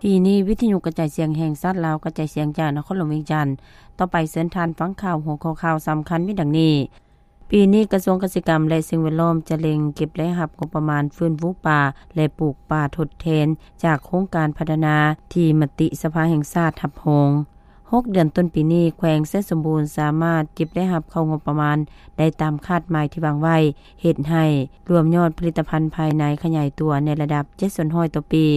ປີນີ້ ວິທະຍຸກະຈາຍສຽງແຫ່ງຊາດລາວ ກະຈາຍສຽງຈາກນະຄອນຫຼວງວຽງຈັນ. ຕໍ່ໄປເຊີນທ່ານຟັງຂ່າວ ຫົວຂໍ້ຂ່າວສຳຄັນມີດັ່ງນີ້. ປີນີ້ກະຊວງກະສິກຳ ແລະ ສິ່ງແວດລ້ອມ ຈະເລັ່ງເກັບລາຍຮັບງົບປະມານຟື້ນຟູປ່າ ແລະ ປູກປ່າທົດແທນ ຈາກໂຄງການພັດທະນາທີ່ມະຕິສະພາແຫ່ງຊາດຮັບຮອງ. ຫົກເດືອນຕົ້ນປີນີ້ ແຂວງໄຊສົມບູນສາມາດເກັບລາຍຮັບເຂົ້າງົບປະມານໄດ້ຕາມຄາດໝາຍທີ່ວາງໄວ້, ເຮັດໃຫ້ລວມຍອດຜະລິດຕະພັນພາຍໃນຂະຫຍາຍຕົວໃນລະດັບເຈັດສ່ວນຮ້ອຍຕໍ່ປີ.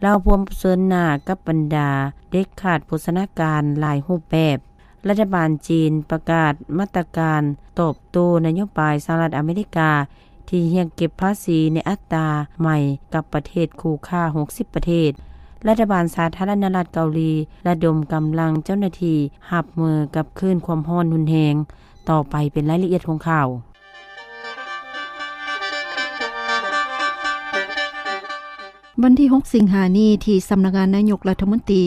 ລາວພວມປະເຊີນໜ້າກັບບັນດາເດັກຂາດໂພຊະນາການຫຼາຍຮູບແບບ. ລັດຖະບານຈີນປະກາດມາດຕະການຕອບໂຕ້ນະໂຍບາຍສະຫະລັດອາເມລິກາ ທີ່ຮຽກເກັບພາສີໃນອັດຕາໃໝ່ກັບປະເທດຄູ່ຄ້າຫົກສິບປະເທດ. ລັດຖະບານສາທາລະນະລັດເກົາຫຼີລະດົມກຳລັງເຈົ້າໜ້າທີ່ຮັບມືກັບຄື້ນຄວາມຮ້ອນຮຸນແຮງ. ຕໍ່ໄປເປັນລາຍລະອຽດຂອງຂ່າວ. ວັນທີຫົກ ສິງຫານີ້ ທີ່ສຳນັກງານນາຍົກລັດຖະມົນຕີ,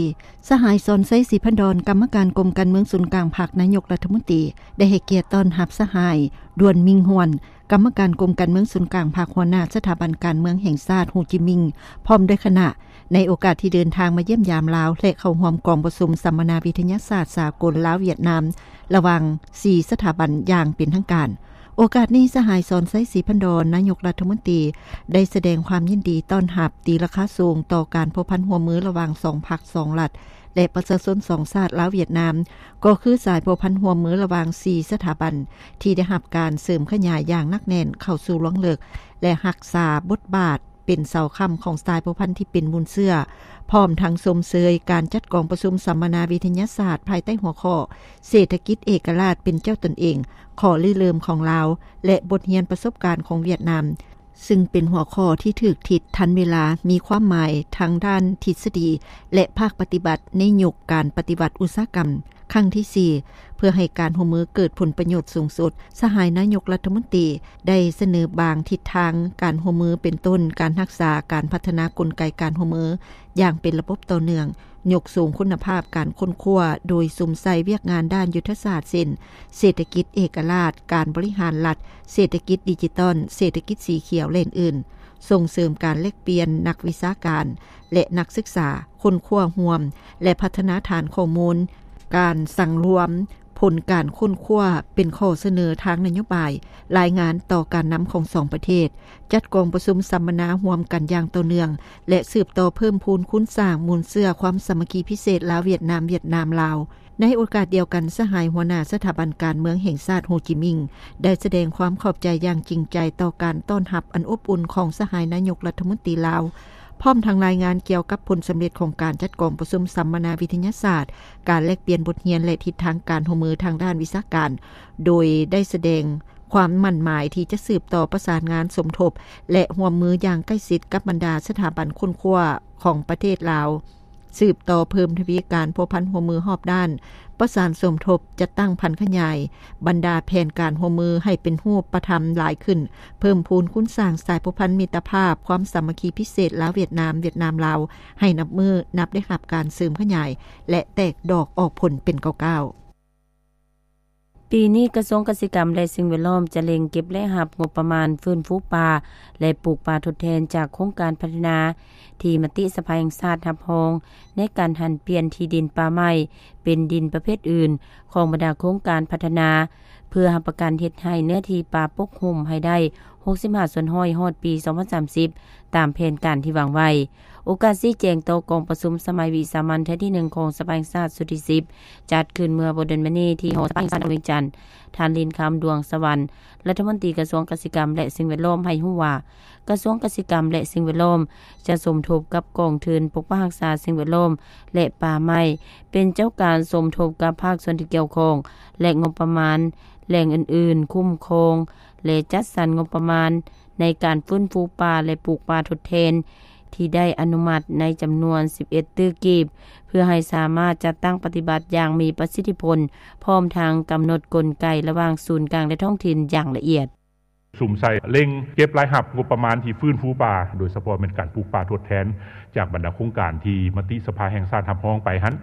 ສະຫາຍ ສອນໄຊ ສີພັນດອນ ກຳມະການກົມການເມືອງສູນກາງພັກນາຍົກລັດຖະມົນຕີ ໄດ້ໃຫ້ກຽດຕ້ອນຮັບສະຫາຍ ດວນ ມິງຮວນ ກຳມະການກົມການເມືອງສູນກາງພັກ ຫົວໜ້າສະຖາບັນການເມືອງແຫ່ງຊາດ ໂຮຈິມິງ ພ້ອມດ້ວຍຄະນະ ໃນໂອກາດທີ່ເດີນທາງມາຢ້ຽມຢາມລາວ ແລະ ເຂົ້າຮ່ວມກອງປະຊຸມສຳມະນາວິທະຍາສາດສາກົນລາວ-ຫວຽດນາມ ລະຫວ່າງສີ່ສະຖາບັນຢ່າງເປັນທາງການ. ໂອກາດນີ້ ສະຫາຍ ສອນໄຊ ສີພັນດອນ ນາຍົກລັດຖະມົນຕີ ໄດ້ສະແດງຄວາມຍິນດີຕ້ອນຮັບຕີລາຄາສູງຕໍ່ການພົວພັນຮ່ວມມືລະຫວ່າງສອງພັກສອງລັດ ແລະ ປະຊາຊົນສອງຊາດລາວ-ຫວຽດນາມ, ກໍຄືສາຍພົວພັນຮ່ວມມືລະຫວ່າງສີ່ສະຖາບັນ ທີ່ໄດ້ຮັບການເສີມຂະຫຍາຍຢ່າງໜັກແໜ້ນເຂົ້າສູ່ລວງເລິກ ແລະ ຮັກສາບົດບາດ ເປັນເສົາຄ້ຳຂອງສາຍພົວພັນທີ່ເປັນມູນເຊື້ອ, ພ້ອມທັງຊົມເຊີຍການຈັດກອງປະຊຸມສຳມະນາວິທະຍາສາດ ພາຍໃຕ້ຫົວຂໍ້ ເສດຖະກິດເອກະລາດເປັນເຈົ້າຕົນເອງ, ຂໍ້ລິເລີ່ມຂອງລາວ ແລະ ບົດຮຽນປະສົບການຂອງຫວຽດນາມ, ຊຶ່ງເປັນຫົວຂໍ້ທີ່ຖືກທິດທັນເວລາ, ມີຄວາມໝາຍທັງດ້ານທິດສະດີ ແລະ ພາກປະຕິບັດໃນຍຸກການປະຕິວັດອຸດສາຫະກຳ. ຄັ້ງທີສີ່ ເພື່ອໃຫ້ການຮ່ວມມືເກີດຜົນປະໂຫຍດສູງສຸດ, ສະຫາຍນາຍົກລັດຖະມົນຕີໄດ້ສະເໜີບາງທິດທາງການຮ່ວມມື ເປັນຕົ້ນ ການຮັກສາການພັດທະນາກົນໄກການຮ່ວມມືຢ່າງເປັນລະບົບຕໍ່ເນື່ອງ, ຍົກສູງຄຸນນະພາບການຄົ້ນຄວ້າ ໂດຍສຸມໃສ່ວຽກງານດ້ານຍຸດທະສາດ ເຊັ່ນ ເສດຖະກິດເອກະລາດ, ການບໍລິຫານລັດ, ເສດຖະກິດດິຈິຕອນ, ເສດຖະກິດສີຂຽວ ແລະ ອື່ນໆ. ສົ່ງເສີມການແລກປ່ຽນນັກວິຊາການ ແລະ ນັກສຶກສາ, ຄົ້ນຄວ້າຮ່ວມ ແລະ ພັດທະນາຖານຂໍ້ມູນ, ການສັງລວມຜົນການຄົ້ນຄວ້າເປັນຂໍ້ສະເໜີທາງນະໂຍບາຍ, ລາຍງານຕໍ່ການນຳຂອງສອງປະເທດ, ຈັດກອງປະຊຸມສຳມະນາຮ່ວມກັນຢ່າງຕໍ່ເນື່ອງ ແລະ ສືບຕໍ່ເພີ່ມພູນຄູນສ້າງມູນເຊື້ອຄວາມສາມັກຄີພິເສດລາວ-ຫວຽດນາມ, ຫວຽດນາມ-ລາວ. ໃນໂອກາດດຽວກັນ, ສະຫາຍຫົວໜ້າສະຖາບັນການເມືອງແຫ່ງຊາດ ໂຮຈິມິງ ໄດ້ສະແດງຄວາມຂອບໃຈຢ່າງຈິງໃຈຕໍ່ການຕ້ອນຮັບອັນອົບອຸ່ນຂອງສະຫາຍນາຍົກລັດຖະມົນຕີລາວ, ພ້ອມທັງລາຍງານກ່ຽວກັບຜົນສຳເລັດຂອງການຈັດກອງປະຊຸມສຳມະນາວິທະຍາສາດ, ການແລກປ່ຽນບົດຮຽນ ແລະ ທິດທາງການຮ່ວມມືທາງດ້ານວິຊາການ, ໂດຍໄດ້ສະແດງຄວາມໝັ້ນໝາຍທີ່ຈະສືບຕໍ່ປະສານງານສົມທົບ ແລະ ຮ່ວມມືຢ່າງໃກ້ຊິດກັບບັນດາສະຖາບັນຄົ້ນຄວ້າຂອງປະເທດລາວ. ສືບຕໍ່ເພີ່ມທະວີການພົວພັນຮ່ວມມືຮອບດ້ານ, ປະສານສົມທົບ, ຈັດຕັ້ງຜັນຂະຫຍາຍບັນດາແຜນການຮ່ວມມືໃຫ້ເປັນຮູບປະທຳຫຼາຍຂຶ້ນ, ເພີ່ມພູນຄູນສ້າງສາຍພົວພັນມິດຕະພາບ, ຄວາມສາມັກຄີພິເສດລາວ-ຫວຽດນາມ, ຫວຽດນາມ-ລາວ ໃຫ້ນັບມື້ນັບໄດ້ຮັບການເສີມຂະຫຍາຍ ແລະ ແຕກດອກອອກຜົນເປັນກ້າວໆ. ປີນີ້ກະຊວງກະສິກຳ ແລະ ສິ່ງແວດລ້ອມ ຈະເລັ່ງເກັບລາຍຮັບງົບປະມານຟື້ນຟູປ່າ ແລະ ປູກປ່າທົດແທນຈາກໂຄງການພັດທະນາ ທີ່ມະຕິສະພາແຫ່ງຊາດຮັບຮອງ ໃນການຫັນປ່ຽນທີ່ດິນປ່າໄມ້ເປັນດິນປະເພດອື່ນ ຂອງບັນດາໂຄງການພັດທະນາ ເພື່ອຮັບປະກັນເຮັດໃຫ້ເນື້ອທີ່ປ່າປົກຫຸ້ມໃຫ້ໄດ້ຫົກສິບຫ້າສ່ວນຮ້ອຍ ຮອດປີສອງພັນສາມສິບ ຕາມແຜນການທີ່ວາງໄວ້. ໂອກາດຊີ້ແຈງຕໍ່ກອງປະຊຸມສະໄໝວິສາມັນເທື່ອທີໜຶ່ງຂອງສະພາແຫ່ງຊາດຊຸດທີສິບ ຈັດຂຶ້ນເມື່ອບໍ່ດົນມານີ້ທີ່ຫໍສະພາແຫ່ງຊາດນະຄອນຫຼວງວຽງຈັນ, ທ່ານ ລິນຄຳ ດວງສະຫວັນ ລັດຖະມົນຕີກະຊວງກະສິກຳ ແລະ ສິ່ງແວດລ້ອມ ໃຫ້ຮູ້ວ່າ ກະຊວງກະສິກຳ ແລະ ສິ່ງແວດລ້ອມ ຈະສົມທົບກັບກອງທຶນປົກປັກຮັກສາສິ່ງແວດລ້ອມ ແລະ ປ່າໄມ້ ເປັນເຈົ້າການສົມທົບກັບພາກສ່ວນທີ່ກ່ຽວຂ້ອງ ແລະ ງົບປະມານແຫຼ່ງອື່ນໆ ຄຸ້ມຄອງ ແລະ ຈັດສັນງົບປະມານ ໃນການຟື້ນຟູປ່າ ແລະ ປູກປ່າທົດແທນ ທີ່ໄດ້ອະນຸມັດໃນຈຳນວນສິບເອັດຕື້ກີບ ເພື່ອໃຫ້ສາມາດຈັດຕັ້ງປະຕິບັດຢ່າງມີປະສິດທິຜົນ, ພ້ອມທັງກຳນົດກົນໄກລະຫວ່າງສູນກາງ ແລະ ທ້ອງຖິ່ນຢ່າງລະອຽດ. ສຸມໃສ່ເລັ່ງເກັບລາຍຮັບງົບປະມານທີ່ຟື້ນຟູປ່າ, ໂດຍສະເພາະແມ່ນການປູກປ່າທົດແທນ ຈາກບັນດາໂຄງການທີ່ມະຕິສະພາແຫ່ງຊາດຮັບຮອງໄປຫັ້ນ,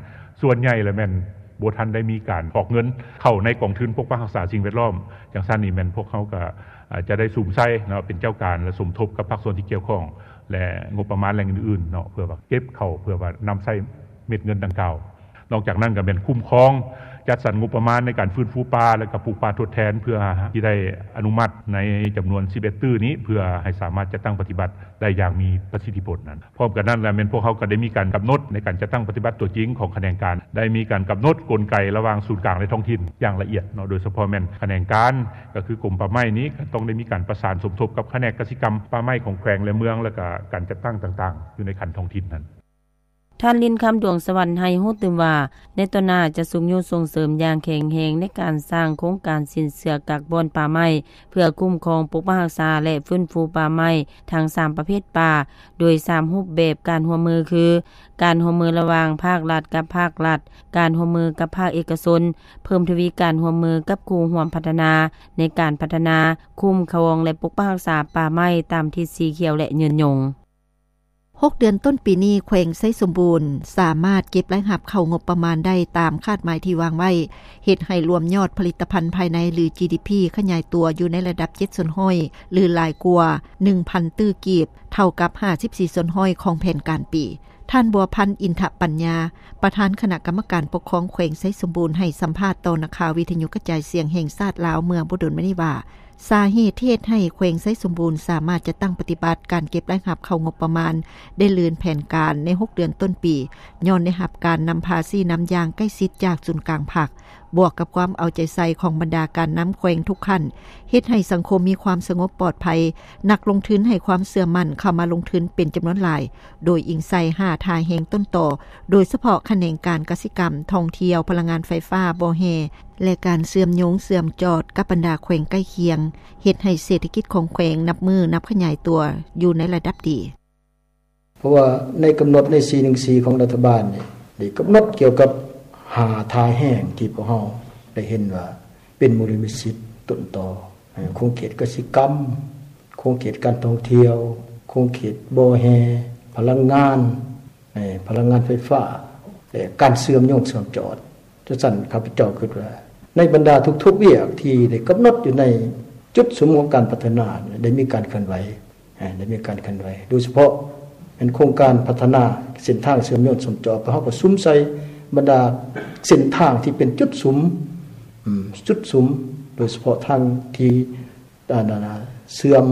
ສ່ວນໃຫຍ່ລະແມ່ນບໍ່ທັນໄດ້ມີການອອກເງິນເຂົ້າໃນກອງທຶນປົກປັກຮັກສາສິ່ງແວດລ້ອມ. ຈັ່ງຊັ້ນນີ້ແມ່ນພວກເຮົາກະ ອາ ຈະໄດ້ສຸມໃສ່ເນາະ ເປັນເຈົ້າການ ແລະ ສົມທົບກັບພາກສ່ວນທີ່ກ່ຽວຂ້ອງ ແລະ ງົບປະມານແຫຼ່ງອື່ນໆເນາະ ເພື່ອວ່າເກັບເຂົ້າ ເພື່ອວ່ານຳໃຊ້ເມັດເງິນດັ່ງກ່າວ. ນອກຈາກນັ້ນກໍແມ່ນຄຸ້ມຄອງ ຈັດສັນງົບປະມານໃນການຟື້ນຟູປ່າ ແລະ ກໍປູກປ່າທົດແທນ ເພື່ອທີ່ໄດ້ອະນຸມັດໃນຈຳນວນສິບເອັດຕື້ນີ້ ເພື່ອໃຫ້ສາມາດຈັດຕັ້ງປະຕິບັດໄດ້ຢ່າງມີປະສິດທິຜົນນັ້ນ. ພ້ອມກັນນັ້ນແລ້ວ ແມ່ນພວກເຮົາກໍໄດ້ມີການກຳນົດໃນການຈັດຕັ້ງປະຕິບັດຕົວຈິງຂອງຂະແໜງການ, ໄດ້ມີການກຳນົດກົນໄກລະຫວ່າງສູນກາງ ແລະ ທ້ອງຖິ່ນຢ່າງລະອຽດເນາະ, ໂດຍສະເພາະແມ່ນຂະແໜງການ ກໍຄືກົມປ່າໄມ້ນີ້ ກໍຕ້ອງໄດ້ມີການປະສານສົມທົບກັບຂະແໜງກະສິກຳປ່າໄມ້ຂອງແຂວງ ແລະ ເມືອງ ແລະ ກະການຈັດຕັ້ງຕ່າງໆ ຢູ່ໃນຂັ້ນທ້ອງຖິ່ນນັ້ນ. ທ່ານ ລິນຄຳ ດວງສະຫວັນ ໃຫ້ຮູ້ຕື່ມວ່າ ໃນຕໍ່ໜ້າຈະຊຸກຍູ້ສົ່ງເສີມຢ່າງແຂງແຮງໃນການສ້າງໂຄງການສິນເຊື່ອກັກບ່ອນປ່າໄມ້ ເພື່ອຄຸ້ມຄອງ, ປົກປັກຮັກສາ ແລະ ຟື້ນຟູປ່າໄມ້ທັງສາມປະເພດປ່າ ໂດຍສາມຮູບແບບການຮ່ວມມືຄື ການຮ່ວມມືລະຫວ່າງພາກລັດກັບພາກລັດ, ການຮ່ວມມືກັບພາກເອກະຊົນ, ເພີ່ມທະວີການຮ່ວມມືກັບຄູ່ຮ່ວມພັດທະນາ ໃນການພັດທະນາ, ຄຸ້ມຄອງ ແລະ ປົກປັກຮັກສາປ່າໄມ້ຕາມທິດສີຂຽວ ແລະ ຍືນຍົງ. ຫົກເດືອນຕົ້ນປີນີ້ ແຂວງໄຊສົມບູນສາມາດເກັບລາຍຮັບເຂົ້າງົບປະມານໄດ້ຕາມຄາດໝາຍທີ່ວາງໄວ້, ເຮັດໃຫ້ລວມຍອດຜະລິດຕະພັນພາຍໃນ ຫຼື ຈີດີພີ ຂະຫຍາຍຕົວຢູ່ໃນລະດັບເຈັດສ່ວນຮ້ອຍ ຫຼື ຫຼາຍກວ່າໜຶ່ງພັນຕື້ກີບ, ເທົ່າກັບຫ້າສິບສີ່ສ່ວນຮ້ອຍຂອງແຜນການປີ. ທ່ານ ບົວພັນ ອິນທະປັນຍາ ປະທານຄະນະກຳມະການປົກຄອງແຂວງໄຊສົມບູນ ໃຫ້ສຳພາດຕໍ່ນັກຂ່າວວິທະຍຸກະຈາຍສຽງແຫ່ງຊາດລາວເມື່ອບໍ່ດົນມານີ້ວ່າ, ສາເຫດທີ່ເຮັດໃຫ້ແຂວງໄຊສົມບູນສາມາດຈັດຕັ້ງປະຕິບັດການເກັບລາຍຮັບເຂົ້າງົບປະມານໄດ້ລື່ນແຜນການໃນຫົກເດືອນຕົ້ນປີ ຍ້ອນໄດ້ຮັບການນຳພາຊີ້ນຳຢ່າງໃກ້ຊິດຈາກສູນກາງພັກ, ບວກກັບຄວາມເອົາໃຈໃສ່ຂອງບັນດາການນຳແຂວງທຸກຂັ້ນ, ເຮັດໃຫ້ສັງຄົມມີຄວາມສະຫງົບປອດໄພ, ນັກລົງທຶນໃຫ້ຄວາມເຊື່ອໝັ້ນເຂົ້າມາລົງທຶນເປັນຈຳນວນຫຼາຍ, ໂດຍອີງໃສ່ຫ້າທ່າແຮງຕົ້ນຕໍ, ໂດຍສະເພາະຂະແໜງການກະສິກຳ, ທ່ອງທ່ຽວ, ພະລັງງານໄຟຟ້າ, ບໍ່ແຮ່ ແລະ ການເຊື່ອມໂຍງເຊື່ອມຈອດກັບບັນດາແຂວງໃກ້ຄຽງ, ເຮັດໃຫ້ເສດຖະກິດຂອງແຂວງນັບມື້ນັບຂະຫຍາຍຕົວຢູ່ໃນລະດັບດີ. ເພາະວ່າໃນກຳນົດໃນສີ່ໜຶ່ງສີ່ຂອງລັດຖະບານນີ້ ໄດ້ກຳນົດກ່ຽວກັບຫ້າທ່າແຮງທີ່ພວກເຮົາໄດ້ເຫັນວ່າເປັນມູນນິທິຕົ້ນຕໍ, ເອີ ຂົງເຂດກະສິກຳ, ຂົງເຂດການທ່ອງທ່ຽວ, ຂົງເຂດບໍ່ແຮ່, ພະລັງງານ, ເອີ ພະລັງງານໄຟຟ້າ ແລະ ການເຊື່ອມໂຍງເຊື່ອມຈອດ. ຈັ່ງຊັ້ນ ຂ້າພະເຈົ້າຄິດວ່າ ໃນບັນດາທຸກໆວຽກທີ່ໄດ້ກຳນົດຢູ່ໃນຈຸດສຸມຂອງການພັດທະນາ ໄດ້ມີການເຄື່ອນໄຫວ, ເອີ ໄດ້ມີການເຄື່ອນໄຫວ ໂດຍສະເພາະແມ່ນໂຄງການພັດທະນາເສັ້ນທາງເຊື່ອມໂຍງເຊື່ອມຈອດ, ເຮົາກໍສຸມໃສ່ບັນດາເສັ້ນທາງທີ່ເປັນຈຸດສຸມ, ອືມ ຈຸດສຸມ, ໂດຍສະເພາະທາງທີ່ ອັນນັ້ນນະ ເຊື່ອມ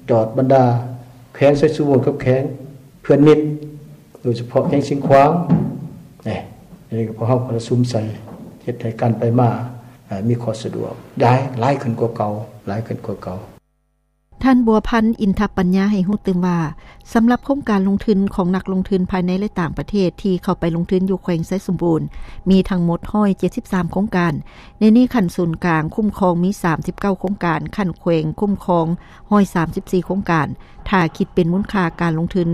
ຈອດບັນດາແຂວງໄຊສົມບູນກັບແຂວງເພື່ອນມິດ, ໂດຍສະເພາະແຂວງຊຽງຂວາງ ນີ້ ອັນນີ້ກໍພວກເຮົາກໍໄດ້ສຸມໃສ່ ເຮັດໃຫ້ການໄປມາ ເອີ ມີຄວາມສະດວກ ຫຼາຍ ຫຼາຍຂຶ້ນກວ່າເກົ່າ, ຫຼາຍຂຶ້ນກວ່າເກົ່າ. ທ່ານ ບົວພັນ ອິນທະປັນຍາ ໃຫ້ຮູ້ຕື່ມວ່າ ສຳລັບໂຄງການລົງທຶນຂອງນັກລົງທຶນພາຍໃນ ແລະ ຕ່າງປະເທດທີ່ເຂົ້າໄປລົງທຶນຢູ່ແຂວງໄຊສົມບູນ ມີທັງໝົດຮ້ອຍເຈັດສິບສາມໂຄງການ, ໃນນີ້ຂັ້ນສູນກາງຄຸ້ມຄອງມີສາມສິບເກົ້າໂຄງການ, ຂັ້ນແຂວງຄຸ້ມຄອງຮ້ອຍສາມສິບສີ່ໂຄງການ, ຖ້າຄິດເປັນມູນຄ່າການລົງທຶນ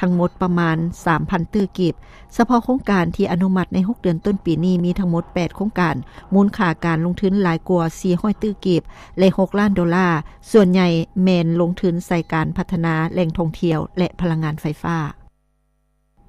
ທັງໝົດປະມານສາມພັນຕື້ກີບ. ສະເພາະໂຄງການທີ່ອະນຸມັດໃນຫົກເດືອນຕົ້ນປີນີ້ມີທັງໝົດແປດໂຄງການ, ມູນຄ່າການລົງທຶນຫຼາຍກວ່າສີ່ຮ້ອຍຕື້ກີບ ແລະ ຫົກລ້ານໂດລາ, ສ່ວນໃຫຍ່ແມ່ນລົງທຶນໃສ່ການພັດທະນາແຫຼ່ງທ່ອງທ່ຽວ ແລະ ພະລັງງານໄຟຟ້າ.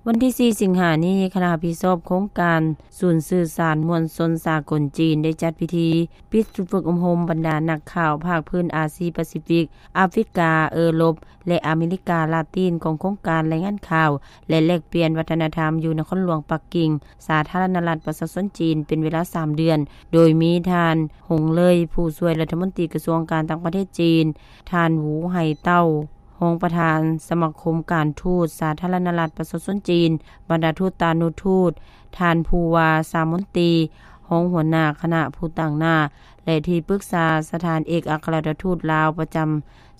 ວັນທີສີ່ ສິງຫານີ້, ຄະນະຮັບຜິດຊອບໂຄງການສູນສື່ສານມວນຊົນສາກົນຈີນ ໄດ້ຈັດພິທີປິດຝຶກອົບຮົມບັນດານັກຂ່າວພາກພື້ນອາຊີປາຊີຟິກ, ອາຟຣິກາ, ເອີຣົບ ແລະ ອາເມລິກາລາຕິນ ຂອງໂຄງການລາຍງານຂ່າວ ແລະ ແລກປ່ຽນວັດທະນະທຳ ຢູ່ນະຄອນຫຼວງປັກກິ່ງ, ສາທາລະນະລັດປະຊາຊົນຈີນ ເປັນເວລາສາມເດືອນ, ໂດຍມີທ່ານ ຫົງເລີຍ ຜູ້ຊ່ວຍລັດຖະມົນຕີກະຊວງການຕ່າງປະເທດຈີນ, ທ່ານ ຫວູ ໄຫເຕົ້າ ຮອງປະທານສະມາຄົມການທູດສາທາລະນະລັດປະຊາຊົນຈີນ, ບັນດາທູດຕານຸທູດ, ທ່ານ ພູວາ ສາມົນຕີ ຮອງຫົວໜ້າຄະນະຜູ້ຕາງໜ້າ ແລະ ທີ່ປຶກສາສະຖານເອກອັກຄະລັດຖະທູດລາວປະຈຳ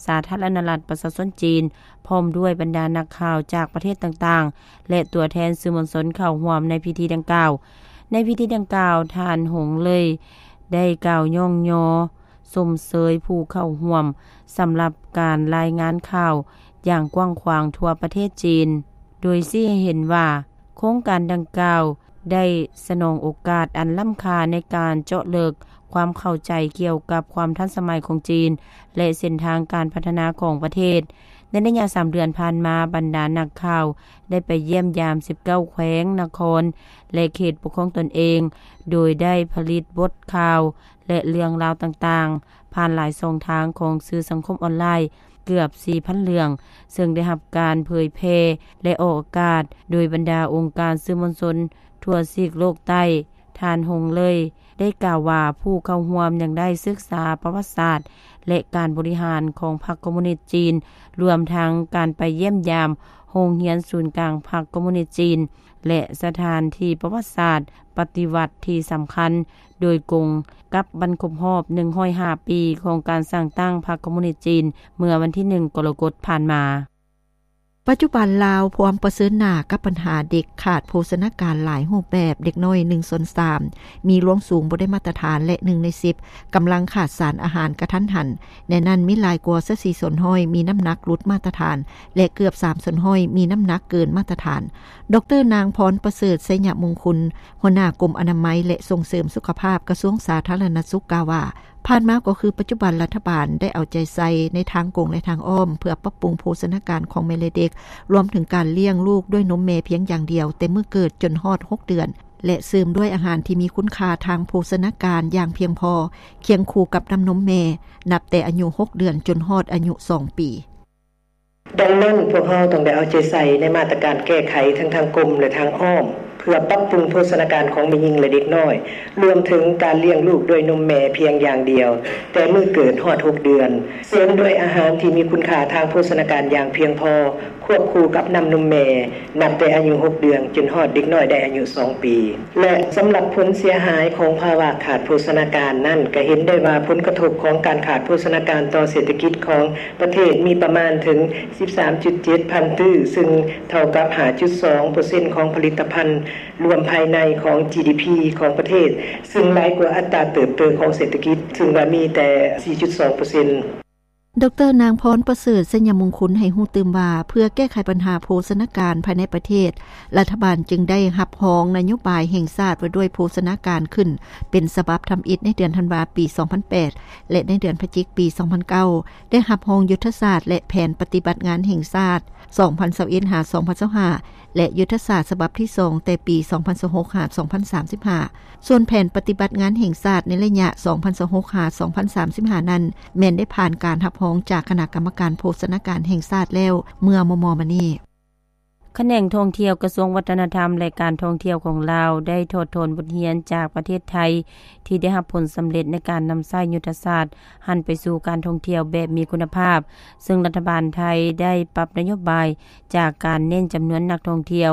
ສາທາລະນະລັດປະຊາຊົນຈີນ, ພ້ອມດ້ວຍບັນດານັກຂ່າວຈາກປະເທດຕ່າງໆ ແລະ ຕົວແທນສື່ມວນຊົນເຂົ້າຮ່ວມໃນພິທີດັ່ງກ່າວ. ໃນພິທີດັ່ງກ່າວ, ທ່ານ ຫົງເລີຍ ໄດ້ກ່າວຍ້ອງຍໍ ຊົມເຊີຍຜູ້ເຂົ້າຮ່ວມສຳລັບການລາຍງານຂ່າວຢ່າງກວ້າງຂວາງທົ່ວປະເທດຈີນ, ໂດຍຊີ້ໃຫ້ເຫັນວ່າໂຄງການດັ່ງກ່າວໄດ້ສະໜອງໂອກາດອັນລ້ຳຄ່າໃນການເຈາະເລິກຄວາມເຂົ້າໃຈກ່ຽວກັບຄວາມທັນສະໄໝຂອງຈີນ ແລະ ເສັ້ນທາງການພັດທະນາຂອງປະເທດ. ໃນໄລຍະສາມເດືອນຜ່ານມາ, ບັນດານັກຂ່າວໄດ້ໄປຢ້ຽມຢາມສິບເກົ້າແຂວງ, ນະຄອນ ແລະ ເຂດປົກຄອງຕົນເອງ, ໂດຍໄດ້ຜະລິດບົດຂ່າວ ແລະ ເລື່ອງລາວຕ່າງໆ ຜ່ານຫຼາຍຊ່ອງທາງຂອງສື່ສັງຄົມອອນລາຍ, ເກືອບສີ່ພັນເລື່ອງ ເຊິ່ງໄດ້ຮັບການເຜີຍແຜ່ ແລະ ອອກອາກາດໂດຍບັນດາອົງການສື່ມວນຊົນທົ່ວຊີກໂລກໃຕ້. ທ່ານ ຫົງເລີຍ ໄດ້ກ່າວວ່າ ຜູ້ເຂົ້າຮ່ວມຍັງໄດ້ສຶກສາປະຫວັດສາດ ແລະ ການບໍລິຫານຂອງພັກຄອມມູນິດຈີນ, ລວມທັງການໄປຢ້ຽມຢາມໂຮງຮຽນສູນກາງພັກຄອມມູນິດຈີນ ແລະ ສະຖານທີ່ປະຫວັດສາດປະຕິວັດທີ່ສຳຄັນໂດຍກົງກັບວັນຄົບຮອບໜຶ່ງຮ້ອຍຫ້າປີຂອງການສ້າງຕັ້ງພັກຄອມມູນິດຈີນ ເມື່ອວັນທີໜຶ່ງ ກໍລະກົດຜ່ານມາ. ປັດຈຸບັນລາວພວມປະເຊີນໜ້າກັບບັນຫາເດັກຂາດໂພຊະນາການຫຼາຍຮູບແບບ, ເດັກນ້ອຍໜຶ່ງສ່ວນສາມມີລວງສູງບໍ່ໄດ້ມາດຕະຖານ ແລະ ໜຶ່ງໃນສິບກຳລັງຂາດສານອາຫານກະທັນຫັນ. ໃນນັ້ນມີຫຼາຍກວ່າຊາວສີ່ສ່ວນຮ້ອຍມີນ້ຳໜັກຫຼຸດມາດຕະຖານ ແລະ ເກືອບສາມສ່ວນຮ້ອຍມີນ້ຳໜັກເກີນມາດຕະຖານ. ດອກເຕີ ນາງ ພອນປະເສີດ ໄຊຍະມຸງຄຸນ ຫົວໜ້າກົມອະນາໄມ ແລະ ສົ່ງເສີມສຸຂະພາບ ກະຊວງສາທາລະນະສຸກ ກ່າວວ່າ ຜ່ານມາກໍຄືປັດຈຸບັນ ລັດຖະບານໄດ້ເອົາໃຈໃສ່ໃນທາງກົງ ແລະ ທາງອ້ອມ ເພື່ອປັບປຸງໂພຊະນາການຂອງແມ່ ແລະ ເດັກ, ລວມເຖິງການລ້ຽງລູກດ້ວຍນົມແມ່ພຽງຢ່າງດຽວ ແຕ່ມື້ເກີດຈົນຮອດຫົກເດືອນ ແລະ ເສີມດ້ວຍອາຫານທີ່ມີຄຸນຄ່າທາງໂພຊະນາການຢ່າງພຽງພໍ, ຄຽງຄູ່ກັບນ້ຳນົມແມ່, ນັບແຕ່ອາຍຸຫົກເດືອນຈົນຮອດອາຍຸສອງປີ. ດັ່ງນັ້ນ, ພວກເຮົາຕ້ອງໄດ້ເອົາໃຈໃສ່ໃນມາດຕະການແກ້ໄຂທັງທາງກົງ ແລະ ທາງອ້ອມ ເພື່ອປັບປຸງໂພຊະນາການຂອງແມ່ຍິງ ແລະ ເດັກນ້ອຍ, ລວມເຖິງການລ້ຽງລູກດ້ວຍນົມແມ່ພຽງຢ່າງດຽວ ແຕ່ມື້ເກີດຮອດຫົກເດືອນ, ເສີມດ້ວຍອາຫານທີ່ມີຄຸນຄ່າທາງໂພຊະນາການຢ່າງພຽງພໍ, ຄວບຄູ່ກັບນ້ຳນົມແມ່ ນັບແຕ່ອາຍຸຫົກເດືອນ ຈົນຮອດເດັກນ້ອຍໄດ້ອາຍຸສອງປີ. ແລະ ສຳລັບຜົນເສຍຫາຍຂອງພາວະຂາດໂພຊະນາການນັ້ນ, ກໍເຫັນໄດ້ວ່າຜົນກະທົບຂອງການຂາດໂພຊະນາການຕໍ່ເສດຖະກິດຂອງປະເທດມີປະມານເຖິງສິບສາມຈຸດເຈັດພັນຕື້, ຊຶ່ງເທົ່າກັບຫ້າຈຸດສອງເປີເຊັນຂອງຜະລິດຕະພັນລວມພາຍໃນຂອງ ຈີດີພີ ຂອງປະເທດ, ຊຶ່ງຫຼາຍກວ່າອັດຕາເຕີບໂຕຂອງເສດຖະກິດ, ຊຶ່ງວ່າມີແຕ່ສີ່ຈຸດສອງເປີເຊັນ. ດອກເຕີ ນາງ ພອນປະເສີດ ໄຊຍະມຸງຄຸນ ໃຫ້ຮູ້ຕື່ມວ່າ ເພື່ອແກ້ໄຂບັນຫາໂພຊະນາການພາຍໃນປະເທດ, ລັດຖະບານຈຶ່ງໄດ້ຮັບຮອງນະໂຍບາຍແຫ່ງຊາດວ່າດ້ວຍໂພຊະນາການຂຶ້ນເປັນສະບັບທຳອິດໃນເດືອນທັນວາປີສອງພັນແປດ ແລະ ໃນເດືອນພະຈິກປີສອງພັນເກົ້າ ໄດ້ຮັບຮອງຍຸດທະສາດ ແລະ ແຜນປະຕິບັດງານແຫ່ງຊາດ ສອງພັນຊາວເອັດ ຫາ ສອງພັນຊາວຫ້າ ແລະ ຍຸດທະສາດສະບັບທີສອງ ແຕ່ປີສອງພັນຊາວຫົກ ຫາ ສອງພັນສາມສິບຫ້າ. ສ່ວນແຜນປະຕິບັດງານແຫ່ງຊາດໃນໄລຍະສອງພັນຊາວຫົກ ຫາ ສອງພັນສາມສິບຫ້ານັ້ນ ແມ່ນໄດ້ຜ່ານການຮັບຮອງຈາກຄະນະກຳມະການໂພຊະນາການແຫ່ງຊາດແລ້ວເມື່ອມໍ່ໆມານີ້. ຂະແໜງທ່ອງທ່ຽວ ກະຊວງວັດທະນະທຳ ແລະ ການທ່ອງທ່ຽວຂອງລາວ ໄດ້ຖອດຖອນບົດຮຽນຈາກປະເທດໄທ ທີ່ໄດ້ຮັບຜົນສຳເລັດໃນການນຳໃຊ້ຍຸດທະສາດຫັນໄປສູ່ການທ່ອງທ່ຽວແບບມີຄຸນນະພາບ, ເຊິ່ງລັດຖະບານໄທໄດ້ປັບນະໂຍບາຍຈາກການເນັ້ນຈຳນວນນັກທ່ອງທ່ຽວ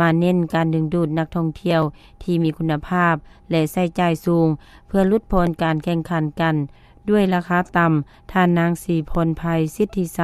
ມາເນັ້ນການດຶງດູດນັກທ່ອງທ່ຽວທີ່ມີຄຸນນະພາບ ແລະ ໃຊ້ຈ່າຍສູງ ເພື່ອຫຼຸດຜ່ອນການແຂ່ງຂັນກັນດ້ວຍລາຄາຕ່ຳ. ທ່ານນາງ ສີພອນໄພ ສິດທິໄຊ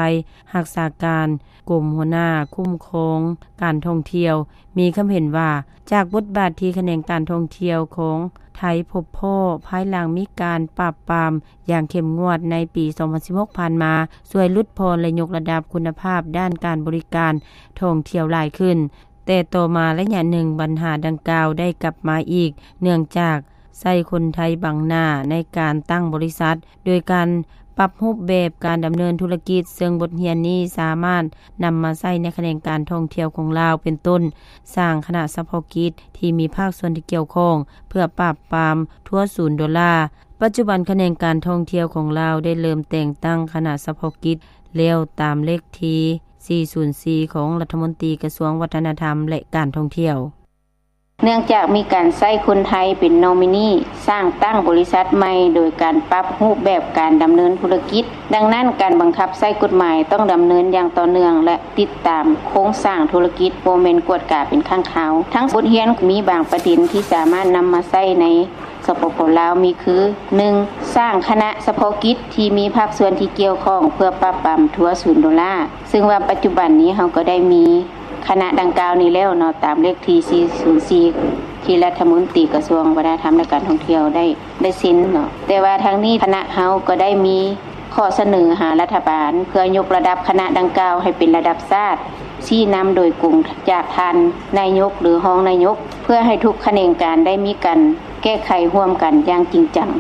ຮັກສາການກົມຫົວໜ້າຄຸ້ມຄອງການທ່ອງທ່ຽວ ມີຄຳເຫັນວ່າ ຈາກບົດບາດທີ່ຂະແໜງການທ່ອງທ່ຽວຂອງໄທພົບພໍ້ພາຍຫຼັງມີການປາບປາມຢ່າງເຂັ້ມງວດໃນປີສອງພັນສິບຫົກຜ່ານມາ ຊ່ວຍຫຼຸດຜ່ອນ ແລະ ຍົກລະດັບຄຸນນະພາບດ້ານການບໍລິການທ່ອງທ່ຽວຫຼາຍຂຶ້ນ. ແຕ່ຕໍ່ມາໄລຍະໜຶ່ງ ບັນຫາດັ່ງກ່າວໄດ້ກັບມາອີກ ເນື່ອງຈາກໃຊ້ຄົນໄທບັງໜ້າໃນການຕັ້ງບໍລິສັດ ໂດຍການປັບຮູບແບບການດຳເນີນທຸລະກິດ, ເຊິ່ງບົດຮຽນນີ້ສາມາດນຳມາໃຊ້ໃນຂະແໜງການທ່ອງທ່ຽວຂອງລາວ, ເປັນຕົ້ນ ສ້າງຄະນະສະເພາະກິດທີ່ມີພາກສ່ວນທີ່ກ່ຽວຂ້ອງ ເພື່ອປາບປາມທົວສູນໂດລາ. ປັດຈຸບັນຂະແໜງການທ່ອງທ່ຽວຂອງລາວໄດ້ເລີ່ມແຕ່ງຕັ້ງຄະນະສະເພາະກິດແລ້ວ ຕາມເລກທີສີ່ສູນສີ່ຂອງລັດຖະມົນຕີກະຊວງວັດທະນະທຳ ແລະ ການທ່ອງທ່ຽວ. ເນື່ອງຈາກມີການໃຊ້ຄົນໄທເປັນນອມິນີ ສ້າງຕັ້ງບໍລິສັດໃໝ່ໂດຍການປັບຮູບແບບການດຳເນີນທຸລະກິດ. ດັ່ງນັ້ນ, ການບັງຄັບໃຊ້ກົດໝາຍຕ້ອງດຳເນີນຢ່າງຕໍ່ເນື່ອງ ແລະ ຕິດຕາມໂຄງສ້າງທຸລະກິດ, ບໍ່ແມ່ນກວດກາເປັນຄັ້ງຄາວ. ທັງບົດຮຽນມີບາງປະເດັນທີ່ສາມາດນຳມາໃຊ້ໃນ ສປປ ລາວ ມີຄື ໜຶ່ງ ສ້າງຄະນະສະເພາະກິດທີ່ມີພາກສ່ວນທີ່ກ່ຽວຂ້ອງເພື່ອປາບປາມທົວສູນໂດລາ, ເຊິ່ງວ່າປັດຈຸບັນນີ້ເຮົາກໍໄດ້ມີຄະນະດັ່ງກ່າວນີ້ແລ້ວເນາະ, ຕາມເລກທີສີ່ສູນສີ່ ທີ່ລັດຖະມົນຕີກະຊວງວັດທະນະທຳ ແລະ ການທ່ອງທ່ຽວໄດ້ ໄດ້ເຊັນເນາະ. ແຕ່ວ່າທາງນີ້ຄະນະເຮົາກໍໄດ້ມີຂໍ້ສະເໜີຫາລັດຖະບານ ເພື່ອຍົກລະດັບຄະນະດັ່ງກ່າວໃຫ້ເປັນລະດັບຊາດ, ຊີ້ນຳໂດຍກົງຈາກທ່ານນາຍົກ ຫຼື ຮອງນາຍົກ, ເພື່ອໃຫ້ທຸກຂະແໜງການໄດ້ມີການແກ້ໄຂຮ່ວມກັນຢ່າງຈິງຈັງ.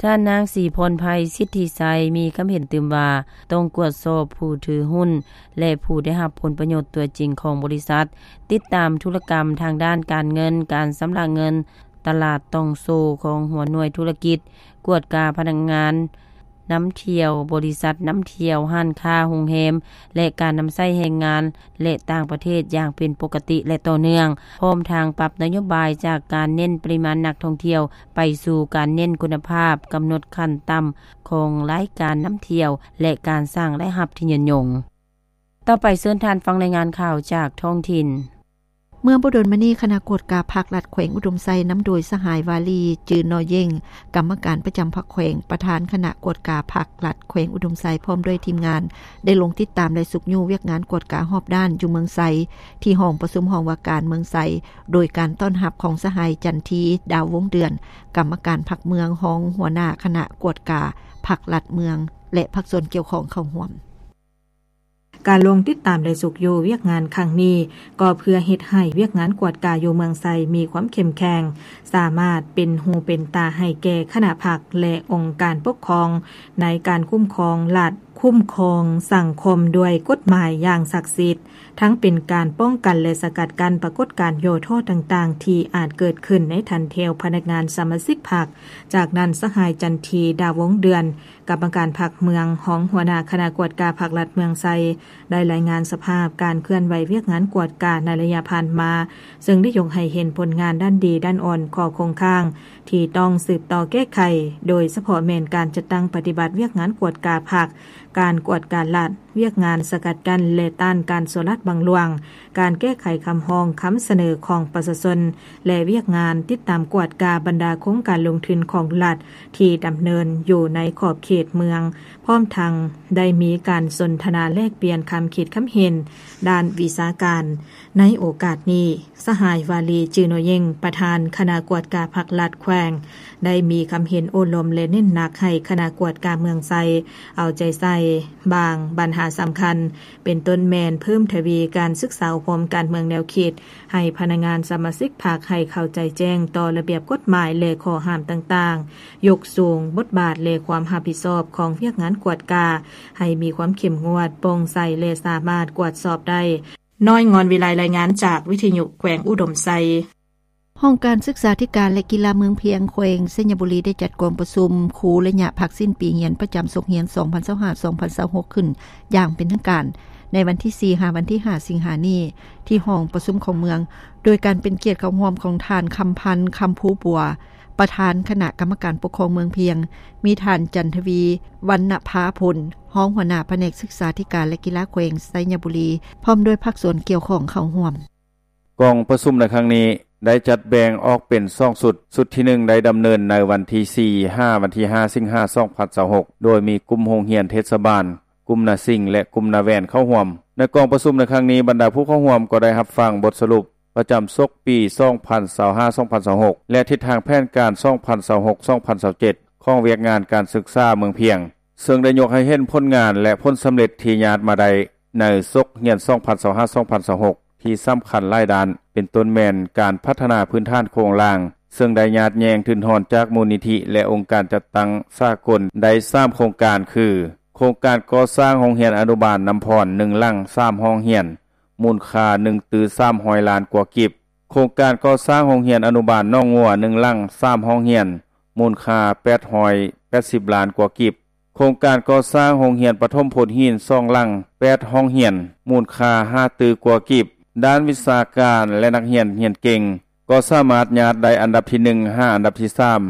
ທ່ານນາງ ສີພອນໄພ ສິດທິໄຊ ມີຄຳເຫັນຕື່ມວ່າ ຕ້ອງກວດສອບຜູ້ຖືຫຸ້ນ ແລະ ຜູ້ໄດ້ຮັບຜົນປະໂຫຍດຕົວຈິງຂອງບໍລິສັດ, ຕິດຕາມທຸລະກຳທາງດ້ານການເງິນ, ການຊຳລະເງິນ, ຕະຫຼາດຕ່ອງໂສ້ຂອງຫົວໜ່ວຍທຸລະກິດ, ກວດກາພະນັກງານ ນຳທ່ຽວ, ບໍລິສັດນຳທ່ຽວ, ຮ້ານຄ້າ, ໂຮງແຮມ ແລະ ການນຳໃຊ້ແຮງງານ ແລະ ຕ່າງປະເທດຢ່າງເປັນປົກກະຕິ ແລະ ຕໍ່ເນື່ອງ, ພ້ອມທັງປັບນະໂຍບາຍຈາກການເນັ້ນປະລິມານນັກທ່ອງທ່ຽວ ໄປສູ່ການເນັ້ນຄຸນນະພາບ, ກຳນົດຂັ້ນຕ່ຳຂອງລາຍການນຳທ່ຽວ ແລະ ການສ້າງລາຍຮັບທີ່ຍືນຍົງ. ຕໍ່ໄປເຊີນທ່ານຟັງລາຍງານຂ່າວຈາກທ້ອງຖິ່ນ. ເມື່ອບໍ່ດົນມານີ້, ຄະນະກວດກາພັກລັດແຂວງອຸດົມໄຊ ນຳໂດຍສະຫາຍ ວາລີ ຈື່ນໍເຢັງ ກຳມະການປະຈຳພັກແຂວງ, ປະທານຄະນະກວດກາພັກລັດແຂວງອຸດົມໄຊ ພ້ອມດ້ວຍທີມງານ ໄດ້ລົງຕິດຕາມ ແລະ ຊຸກຍູ້ວຽກງານກວດກາຮອບດ້ານຢູ່ເມືອງໄຊ ທີ່ຫ້ອງປະຊຸມຫ້ອງວ່າການເມືອງໄຊ ໂດຍການຕ້ອນຮັບຂອງສະຫາຍ ຈັນທີ ດາວວົງເດືອນ ກຳມະການພັກເມືອງ, ຮອງຫົວໜ້າຄະນະກວດກາພັກລັດເມືອງ ແລະ ພາກສ່ວນກ່ຽວຂ້ອງເຂົ້າຮ່ວມ. ການລົງຕິດຕາມ ແລະ ຊຸກຍູ້ວຽກງານຄັ້ງນີ້ ກໍເພື່ອເຮັດໃຫ້ວຽກງານກວດກາຢູ່ເມືອງໄຊມີຄວາມເຂັ້ມແຂງ, ສາມາດເປັນຫູເປັນຕາໃຫ້ແກ່ຄະນະພັກ ແລະ ອົງການປົກຄອງ ໃນການຄຸ້ມຄອງລັດ, ຄຸ້ມຄອງສັງຄົມດ້ວຍກົດໝາຍຢ່າງສັກສິດ, ທັງເປັນການປ້ອງກັນ ແລະ ສະກັດກັ້ນປາກົດການຫຍໍ້ທໍ້ຕ່າງໆ ທີ່ອາດເກີດຂຶ້ນໃນຖັນແຖວພະນັກງານສະມາຊິກພັກ. ຈາກນັ້ນ, ສະຫາຍ ຈັນທີ ດາວວົງເດືອນ ກຳມະການພັກເມືອງ, ຮອງຫົວໜ້າຄະນະກວດກາພັກລັດເມືອງໄຊ ໄດ້ລາຍງານສະພາບການເຄື່ອນໄຫວວຽກງານກວດກາໃນໄລຍະຜ່ານມາ, ເຊິ່ງໄດ້ຍົກໃຫ້ເຫັນຜົນງານດ້ານດີ, ດ້ານອ່ອນ, ຂໍ້ຄົງຄ້າງທີ່ຕ້ອງສືບຕໍ່ແກ້ໄຂ, ໂດຍສະເພາະແມ່ນການຈັດຕັ້ງປະຕິບັດວຽກງານກວດກາພັກ, ການກວດກາລັດ, ວຽກງານສະກັດກັ້ນ ແລະ ຕ້ານການສໍ້ລາດບັງຫຼວງ, ການແກ້ໄຂຄຳຮ້ອງຄຳສະເໜີຂອງປະຊາຊົນ ແລະ ວຽກງານຕິດຕາມກວດກາບັນດາໂຄງການລົງທຶນຂອງລັດທີ່ດຳເນີນຢູ່ໃນຂອບເຂດເມືອງ, ພ້ອມທັງໄດ້ມີການສົນທະນາແລກປ່ຽນຄຳຄິດຄຳເຫັນດ້ານວິຊາການ. ໃນໂອກາດນີ້, ສະຫາຍ ວາລີ ຈື່ນໍເຢັງ ປະທານຄະນະກວດກາພັກລັດແຂວງ ໄດ້ມີຄຳເຫັນໂອ້ລົມ ແລະ ເນັ້ນໜັກໃຫ້ຄະນະກວດກາເມືອງໄຊ ເອົາໃຈໃສ່ບາງບັນຫາສຳຄັນ, ເປັນຕົ້ນແມ່ນເພີ່ມທະວີການສຶກສາອົບຮົມການເມືອງແນວຄິດ ໃຫ້ພະນັກງານສະມາຊິກພັກໃຫ້ເຂົ້າໃຈແຈ້ງຕໍ່ລະບຽບກົດໝາຍ ແລະ ຂໍ້ຫ້າມຕ່າງໆ, ຍົກສູງບົດບາດ ແລະ ຄວາມຮັບຜິດຊອບຂອງວຽກງານກວດກາ ໃຫ້ມີຄວາມເຂັ້ມງວດ, ໂປ່ງໃສ ແລະ ສາມາດກວດສອບໄດ້. ນ້ອຍ ງອນວິໄລ ລາຍງານຈາກວິທະຍຸແຂວງອຸດົມໄຊ. ຫ້ອງການສຶກສາທິການ ແລະ ກິລາເມືອງພຽງ ແຂວງໄຊຍະບູລີ ໄດ້ຈັດກອງປະຊຸມຄູໄລຍະພັກສິ້ນປີຮຽນປະຈຳສົກຮຽນ ສອງພັນຊາວຫ້າ ສອງພັນຊາວຫົກ ຂຶ້ນຢ່າງເປັນທາງການ ໃນວັນທີສີ່ ຫາ ວັນທີຫ້າ ສິງຫານີ້ ທີ່ຫ້ອງປະຊຸມຂອງເມືອງ, ໂດຍການເປັນກຽດເຂົ້າຮ່ວມຂອງທ່ານ ຄຳພັນ ຄຳພູບົວ ປະທານຄະນະກຳມະການປົກຄອງເມືອງພຽງ, ມີທ່ານ ຈັນທະວີ ວັນນະພາພົນ ຮອງຫົວໜ້າພະແນກສຶກສາທິການ ແລະ ກິລາແຂວງໄຊຍະບູລີ ພ້ອມດ້ວຍພາກສ່ວນກ່ຽວຂ້ອງເຂົ້າຮ່ວມ. ກອງປະຊຸມໃນຄັ້ງນີ້ໄດ້ຈັດແບ່ງອອກເປັນສອງຊຸດ, ຊຸດທີໜຶ່ງໄດ້ດຳເນີນໃນວັນທີສີ່ ຫາ ວັນທີຫ້າ ສິງຫາ ສອງພັນຊາວຫົກ ໂດຍມີກຸ່ມໂຮງຮຽນເທດສະບານ, ກຸ່ມນາສິງ ແລະ ກຸ່ມນາແວ່ນເຂົ້າຮ່ວມ. ໃນກອງປະຊຸມໃນຄັ້ງນີ້, ບັນດາຜູ້ເຂົ້າຮ່ວມກໍໄດ້ຮັບຟັງບົດສະຫຼຸບປະຈຳສົກປີ ສອງພັນຊາວຫ້າ ສອງພັນຊາວຫົກ ແລະ ທິດທາງແຜນການ ສອງພັນຊາວຫົກ ສອງພັນຊາວເຈັດ ຂອງວຽກງານການສຶກສາເມືອງພຽງ, ເຊິ່ງໄດ້ຍົກໃຫ້ເຫັນຜົນງານ ແລະ ຜົນສຳເລັດທີ່ຍາດມາໄດ້ໃນສົກຮຽນ ສອງພັນຊາວຫ້າ ສອງພັນຊາວຫົກ ທີ່ສຳຄັນຫຼາຍດ້ານ, ເປັນຕົ້ນແມ່ນການພັດທະນາພື້ນຖານໂຄງລ່າງ, ເຊິ່ງໄດ້ຍາດແຍ່ງທຶນຮອນຈາກມູນນິທິ ແລະ ອົງການຈັດຕັ້ງສາກົນໄດ້ສາມໂຄງການ ຄື ໂຄງການກໍ່ສ້າງໂຮງຮຽນອະນຸບານນ້ຳພອນ ໜຶ່ງຫຼັງ ສາມຫ້ອງຮຽນ ມູນຄ່າ ໜຶ່ງຕື້ສາມຮ້ອຍລ້ານກວ່າກີບ, ໂຄງການກໍ່ສ້າງໂຮງຮຽນອະນຸບານໜອງງົວ ໜຶ່ງຫຼັງ ສາມຫ້ອງຮຽນ ມູນຄ່າ ແປດຮ້ອຍແປດສິບລ້ານກວ່າກີບ, ໂຄງການກໍ່ສ້າງໂຮງຮຽນປະຖົມໂພນຫີນ ສອງຫຼັງ ແປດຫ້ອງຮຽນ ມູນຄ່າ ຫ້າຕື້ກວ່າກີບ. ດ້ານວິຊາການ ແລະ ນັກຮຽນຮຽນເກັ່ງ ກໍສາມາດຍາດໄດ້ອັນດັບທີໜຶ່ງ ຫາ ອັນດັບທີສາມ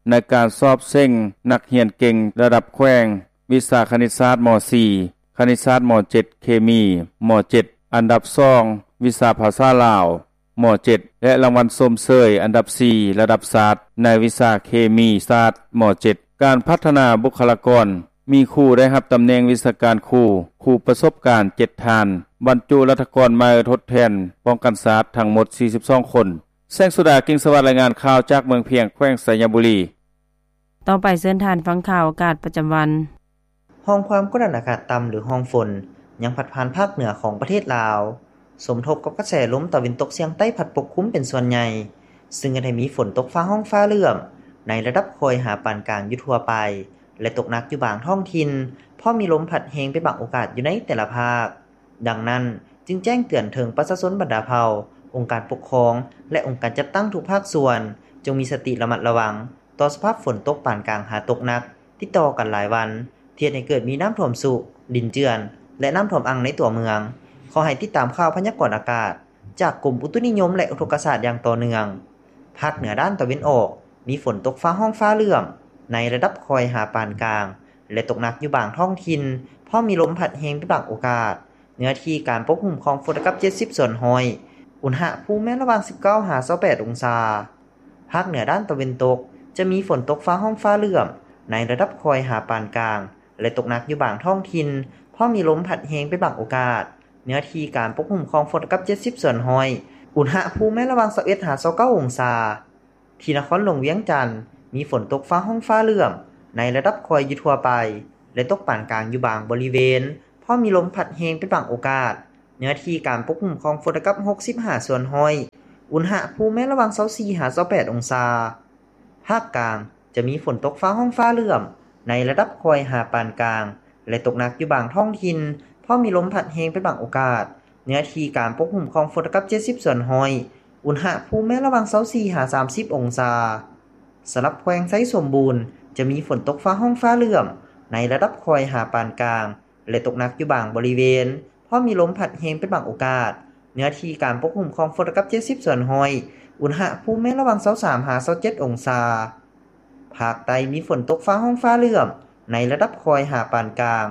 ໃນການສອບເສັງນັກຮຽນເກັ່ງລະດັບແຂວງ ວິຊາຄະນິດສາດ ມໍສີ່, ຄະນິດສາດ ມໍເຈັດ, ເຄມີ ມໍເຈັດ, ອັນດັບສອງ ວິຊາພາສາລາວ ມໍເຈັດ ແລະ ລາງວັນຊົມເຊີຍອັນດັບສີ່ລະດັບຊາດ ໃນວິຊາເຄມີສາດ ມໍເຈັດ. ການພັດທະນາບຸກຄະລາກອນ, ມີຄູໄດ້ຮັບຕຳແໜ່ງວິຊາການຄູ, ຄູປະສົບການ ເຈັດທ່ານ, ບັນຈຸລັດຖະກອນໃໝ່ທົດແທນປ້ອງກັນຊາດ ທັງໝົດ ສີ່ສິບສອງຄົນ. ແສງສຸດາ ກິ່ງສະຫວັດ ລາຍງານຂ່າວຈາກເມືອງພຽງ ແຂວງໄຊຍະບູລີ. ຕໍ່ໄປເຊີນທ່ານຟັງຂ່າວອາກາດປະຈຳວັນ. ຮ່ອງຄວາມກົດອາກາດຕ່ຳ ຫຼື ຮ່ອງຝົນ ຍັງພັດຜ່ານພາກເໜືອຂອງປະເທດລາວ, ສົມທົບກັບກະແສລົມຕາເວັນຕົກສຽງໃຕ້ພັດປົກຄຸມເປັນສ່ວນໃຫຍ່, ຊຶ່ງເຮັດໃຫ້ມີຝົນຕົກຟ້າຮ້ອງຟ້າເຫຼື້ອມ ໃນລະດັບຄ່ອຍຫາປານກາງຢູ່ທົ່ວໄປ ແລະ ຕົກໜັກຢູ່ບາງທ້ອງຖິ່ນ, ພ້ອມມີລົມພັດແຮງເປັນບາງໂອກາດຢູ່ໃນແຕ່ລະພາກ. ດັ່ງນັ້ນ, ຈຶ່ງແຈ້ງເຕືອນເຖິງປະຊາຊົນບັນດາເຜົ່າ, ອົງການປົກຄອງ ແລະ ອົງການຈັດຕັ້ງທຸກພາກສ່ວນ, ຈົ່ງມີສະຕິລະມັດລະວັງ ຕໍ່ສະພາບຝົນຕົກປານກາງຫາຕົກໜັກ ຕິດຕໍ່ກັນຫຼາຍວັນ, ທີ່ເຮັດໃຫ້ເກີດມີນ້ຳຖ້ວມຊຸ, ດິນເຈື່ອນ ແລະ ນ້ຳຖ້ວມອັ່ງໃນຕົວເມືອງ. ຂໍໃຫ້ຕິດຕາມຂ່າວພະຍາກອນອາກາດຈາກກົມອຸຕຸນິຍົມ ແລະ ອຸທົກກະສາດຢ່າງຕໍ່ເນື່ອງ. ພາກເໜືອດ້ານຕາເວັນອອກ ມີຝົນຕົກຟ້າຮ້ອງຟ້າເຫຼື້ອມໃນລະດັບຄ່ອຍຫາປານກາງ ແລະ ຕົກໜັກຢູ່ບາງທ້ອງຖິ່ນ, ພ້ອມມີລົມພັດແຮງເປັນບາງໂອກາດ. ເນື້ອທີ່ການປົກຄຸມຂອງຝົນເທົ່າກັບເຈັດສິບສ່ວນຮ້ອຍ, ອຸນຫະພູມແມ່ນລະຫວ່າງສິບເກົ້າຫາຊາວແປດອົງສາ. ພາກເໜືອດ້ານຕາເວັນຕົກ ຈະມີຝົນຕົກຟ້າຮ້ອງຟ້າເຫຼື້ອມໃນລະດັບຄ່ອຍຫາປານກາງ ແລະ ຕົກໜັກຢູ່ບາງທ້ອງຖິ່ນ, ພ້ອມມີລົມພັດແຮງເປັນບາງໂອກາດ. ເນື້ອທີ່ການປົກຄຸມຂອງຝົນເທົ່າກັບເຈັດສິບສ່ວນຮ້ອຍ, ອຸນຫະພູມແມ່ນລະຫວ່າງຊາວເອັດຫາຊາວເກົ້າອົງສາ. ທີ່ນະຄອນຫຼວງວຽງຈັນ ມີຝົນຕົກຟ້າຮ້ອງຟ້າເຫຼື້ອມໃນລະດັບຄ່ອຍຢູ່ທົ່ວໄປ ແລະ ຕົກປານກາງຢູ່ບາງບໍລິເວນ, ພ້ອມມີລົມພັດແຮງເປັນບາງໂອກາດ. ເນື້ອທີ່ການປົກຄຸມຂອງຝົນເທົ່າກັບຫົກສິບຫ້າສ່ວນຮ້ອຍ, ອຸນຫະພູມແມ່ນລະຫວ່າງຊາວສີ່ຫາຊາວແປດອົງສາ. ພາກກາງ ຈະມີຝົນຕົກຟ້າຮ້ອງຟ້າເຫຼື້ອມໃນລະດັບຄ່ອຍຫາປານກາງ ແລະ ຕົກໜັກຢູ່ບາງທ້ອງຖິ່ນ, ພ້ອມມີລົມພັດແຮງເປັນບາງໂອກາດ. ເນື້ອທີ່ການປົກຄຸມຂອງຝົນເທົ່າກັບເຈັດສິບສ່ວນຮ້ອຍ, ອຸນຫະພູມແມ່ນລະຫວ່າງຊາວສີ່ຫາສາມສິບອົງສາ. ສຳລັບແຂວງໄຊສົມບູນ ຈະມີຝົນຕົກຟ້າຮ້ອງຟ້າເຫຼື້ອມໃນລະດັບຄ່ອຍຫາປານກາງ ແລະ ຕົກໜັກຢູ່ບາງບໍລິເວນ, ພ້ອມມີລົມພັດແຮງເປັນບາງໂອກາດ. ເນື້ອທີ່ການປົກຄຸມຂອງຝົນເທົ່າກັບເຈັດສິບສ່ວນຮ້ອຍ, ອຸນຫະພູມແມ່ນລະຫວ່າງຊາວສາມຫາຊາວເຈັດອົງສາ. ພາກໃຕ້ມີຝົນຕົກຟ້າຮ້ອງຟ້າເຫຼື້ອມໃນລະດັບຄ່ອຍຫາປານກາງ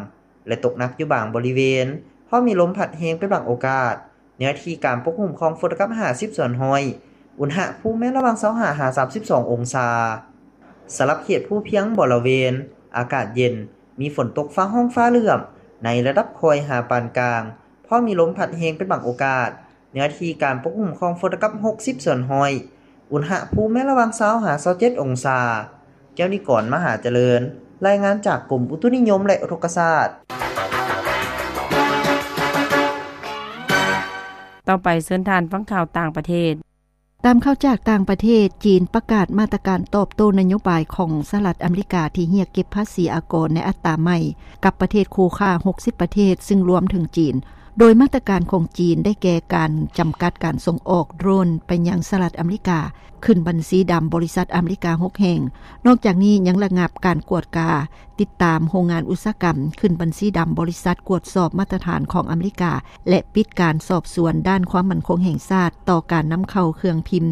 ແລະ ຕົກໜັກຢູ່ບາງບໍລິເວນ, ພ້ອມມີລົມພັດແຮງເປັນບາງໂອກາດ. ເນື້ອທີ່ການປົກຄຸມຂອງຝົນເທົ່າກັບຫ້າສິບສ່ວນຮ້ອຍ, ອຸນຫະພູມແມ່ນລະຫວ່າງຊາວຫ້າຫາສາມສິບສອງອົງສາ. ສຳລັບເຂດພູພຽງບໍລະເວນ ອາກາດເຢັນ, ມີຝົນຕົກຟ້າຮ້ອງຟ້າເຫຼື້ອມໃນລະດັບຄ່ອຍຫາປານກາງ, ພ້ອມມີລົມພັດແຮງເປັນບາງໂອກາດ. ເນື້ອທີ່ການປົກຄຸມຂອງຝົນເທົ່າກັບຫົກສິບສ່ວນຮ້ອຍ, ອຸນຫະພູມແມ່ນລະຫວ່າງຊາວຫາຊາວເຈັດອົງສາ. ແກ້ວນິກອນ ມະຫາຈະເລີນ, ລາຍງານຈາກກົມອຸຕຸນິຍົມ ແລະ ອຸທົກກະສາດ. ຕໍ່ໄປເຊີນທ່ານຟັງຂ່າວຕ່າງປະເທດ. ຕາມຂ່າວຈາກຕ່າງປະເທດ, ຈີນປະກາດມາດຕະການຕອບໂຕ້ນະໂຍບາຍຂອງສະຫະລັດອາເມລິກາທີ່ຮຽກເກັບພາສີອາກອນໃນອັດຕາໃໝ່ກັບປະເທດຄູ່ຄ້າຫົກສິບປະເທດ, ຊຶ່ງລວມເຖິງຈີນ. ໂດຍມາດຕະການຂອງຈີນໄດ້ແກ່ການຈຳກັດການສົ່ງອອກໂດຣນໄປຍັງສະຫະລັດອາເມລິກາ, ຂຶ້ນບັນຊີດຳບໍລິສັດອາເມລິກາຫົກແຫ່ງ. ນອກຈາກນີ້ຍັງລະງັບການກວດກາ ຕິດຕາມໂຮງງານອຸດສາຫະກຳ, ຂຶ້ນບັນຊີດຳບໍລິສັດກວດສອບມາດຕະຖານຂອງອາເມລິກາ ແລະ ປິດການສອບສວນດ້ານຄວາມໝັ້ນຄົງແຫ່ງຊາດຕໍ່ການນຳເຂົ້າເຄື່ອງພິມ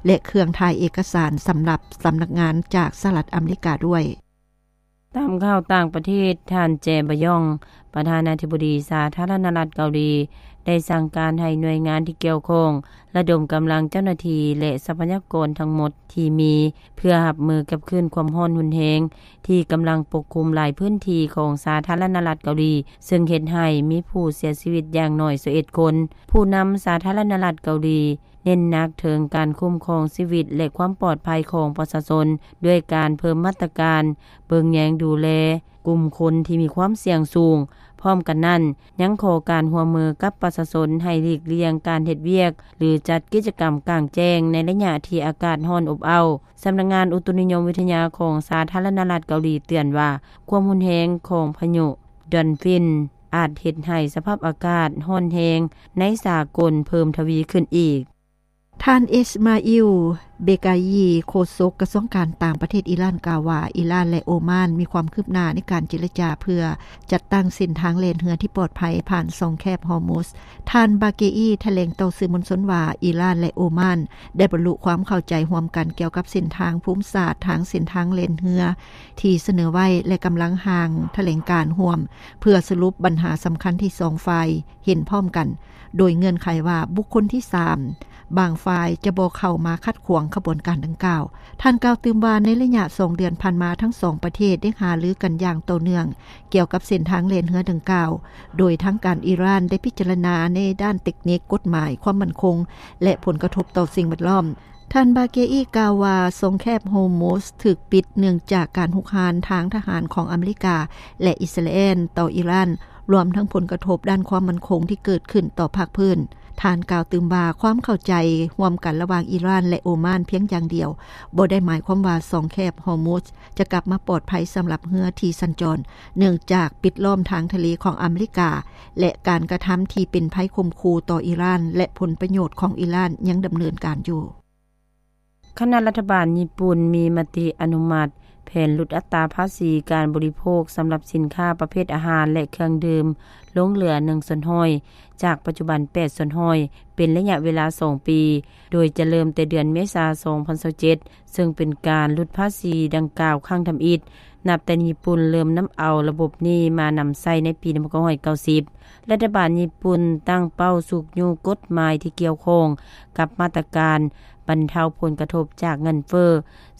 ແລະ ເຄື່ອງຖ່າຍເອກະສານສຳລັບສຳນັກງານຈາກສະຫະລັດອາເມລິກາດ້ວຍ. ຕາມຂ່າວຕ່າງປະເທດ, ທ່ານ ແຈ ບະຢອງ ປະທານາທິບໍດີສາທາລະນະລັດເກົາຫຼີ ໄດ້ສັ່ງການໃຫ້ໜ່ວຍງານທີ່ກ່ຽວຂ້ອງ ລະດົມກຳລັງເຈົ້າໜ້າທີ່ ແລະ ຊັບພະຍາກອນທັງໝົດທີ່ມີ ເພື່ອຮັບມືກັບຄື້ນຄວາມຮ້ອນຮຸນແຮງ ທີ່ກຳລັງປົກຄຸມຫຼາຍພື້ນທີ່ຂອງສາທາລະນະລັດເກົາຫຼີ, ເຊິ່ງເຮັດໃຫ້ມີຜູ້ເສຍຊີວິດຢ່າງໜ້ອຍຊາວເອັດຄົນ. ຜູ້ນຳສາທາລະນະລັດເກົາຫຼີ ເນັ້ນໜັກເຖິງການຄຸ້ມຄອງຊີວິດ ແລະ ຄວາມປອດໄພຂອງປະຊາຊົນ ດ້ວຍການເພີ່ມມາດຕະການເບິ່ງແຍງດູແລກຸ່ມຄົນທີ່ມີຄວາມສ່ຽງສູງ. ພ້ອມກັນນັ້ນ, ຍັງຂໍການຮ່ວມມືກັບປະຊາຊົນໃຫ້ຫຼີກລ່ຽງການເຮັດວຽກ ຫຼື ຈັດກິດຈະກຳກາງແຈ້ງໃນໄລຍະທີ່ອາກາດຮ້ອນອົບເອົ້າ. ສຳນັກງານອຸຕຸນິຍົມວິທະຍາຂອງສາທາລະນະລັດເກົາຫຼີເຕືອນວ່າ ຄວາມຮຸນແຮງຂອງພາຍຸດອນຟິນ ອາດເຮັດໃຫ້ສະພາບອາກາດຮ້ອນແຮງໃນສາກົນເພີ່ມທະວີຂຶ້ນອີກ. ທ່ານ ອິສມາອິລ ເບກາຢີ, ໂຄສົກກະຊວງການຕ່າງປະເທດອີຣານ ກ່າວວ່າ ອີຣານ ແລະ ໂອມານ ມີຄວາມຄືບໜ້າໃນການເຈລະຈາເພື່ອຈັດຕັ້ງເສັ້ນທາງແລ່ນເຮືອທີ່ປອດໄພຜ່ານຊ່ອງແຄບຮອຣມຸດ. ທ່ານ ບາເກອີ ຖະແຫຼງຕໍ່ສື່ມວນຊົນວ່າ ອີຣານ ແລະ ໂອມານ ໄດ້ບັນລຸຄວາມເຂົ້າໃຈຮ່ວມກັນກ່ຽວກັບເສັ້ນທາງພູມສາດທາງເສັ້ນທາງແລ່ນເຮືອທີ່ສະເໜີໄວ້ ແລະ ກຳລັງຮ່າງຖະແຫຼງການຮ່ວມ ເພື່ອສະຫຼຸບບັນຫາສຳຄັນທີ່ສອງຝ່າຍເຫັນພ້ອມກັນ, ໂດຍເງື່ອນໄຂວ່າບຸກຄົນທີສາມບາງຝ່າຍຈະບໍ່ເຂົ້າມາຂັດຂວາງຂະບວນການດັ່ງກ່າວ. ທ່ານກ່າວຕື່ມວ່າ ໃນໄລຍະສອງເດືອນຜ່ານມາ, ທັງສອງປະເທດໄດ້ຫາລືກັນຢ່າງຕໍ່ເນື່ອງກ່ຽວກັບເສັ້ນທາງແລ່ນເຮືອດັ່ງກ່າວ, ໂດຍທາງການອີຣານໄດ້ພິຈາລະນາໃນດ້ານເຕັກນິກ, ກົດໝາຍ, ຄວາມໝັ້ນຄົງ ແລະ ຜົນກະທົບຕໍ່ສິ່ງແວດລ້ອມ. ທ່ານ ບາເກອີ ກ່າວວ່າ ຊ່ອງແຄບຮອຣມຸດຖືກປິດເນື່ອງຈາກການຮຸກຮານທາງທະຫານຂອງອາເມລິກາ ແລະ ອິດສະຣາແອນຕໍ່ອີຣານ, ລວມທັງຜົນກະທົບດ້ານຄວາມໝັ້ນຄົງທີ່ເກີດຂຶ້ນຕໍ່ພາກພື້ນ. ທ່ານກ່າວຕື່ມວ່າ ຄວາມເຂົ້າໃຈຮ່ວມກັນລະຫວ່າງອີຣານ ແລະ ໂອມານພຽງຢ່າງດຽວບໍ່ໄດ້ໝາຍຄວາມວ່າ ຊ່ອງແຄບຮອຣມຸດຈະກັບມາປອດໄພສຳລັບເຮືອທີ່ສັນຈອນ, ເນື່ອງຈາກປິດລ້ອມທາງທະເລຂອງອາເມລິກາ ແລະ ການກະທຳທີ່ເປັນໄພຂົ່ມຂູ່ຕໍ່ອີຣານ ແລະ ຜົນປະໂຫຍດຂອງອີຣານຍັງດຳເນີນການຢູ່. ຄະນະລັດຖະບານຍີ່ປຸ່ນມີມະຕິອະນຸມັດ ແຜນຫຼຸດອັດຕາພາສີການບໍລິໂພກສຳລັບສິນຄ້າປະເພດອາຫານ ແລະ ເຄື່ອງດື່ມ ລົງເຫຼືອໜຶ່ງສ່ວນຮ້ອຍ ຈາກປັດຈຸບັນແປດສ່ວນຮ້ອຍ ເປັນໄລຍະເວລາສອງປີ ໂດຍຈະເລີ່ມແຕ່ເດືອນເມສາ ສອງພັນຊາວເຈັດ ເຊິ່ງເປັນການຫຼຸດພາສີດັ່ງກ່າວຄັ້ງທຳອິດ ນັບແຕ່ຍີ່ປຸ່ນເລີ່ມນຳເອົາລະບົບນີ້ມານຳໃຊ້ໃນປີໜຶ່ງພັນເກົ້າຮ້ອຍເກົ້າສິບ. ລັດຖະບານຍີ່ປຸ່ນຕັ້ງເປົ້າຊຸກຍູ້ກົດໝາຍທີ່ກ່ຽວຂ້ອງກັບມາດຕະການບັນເທົາຜົນກະທົບຈາກເງິນເຟີ້,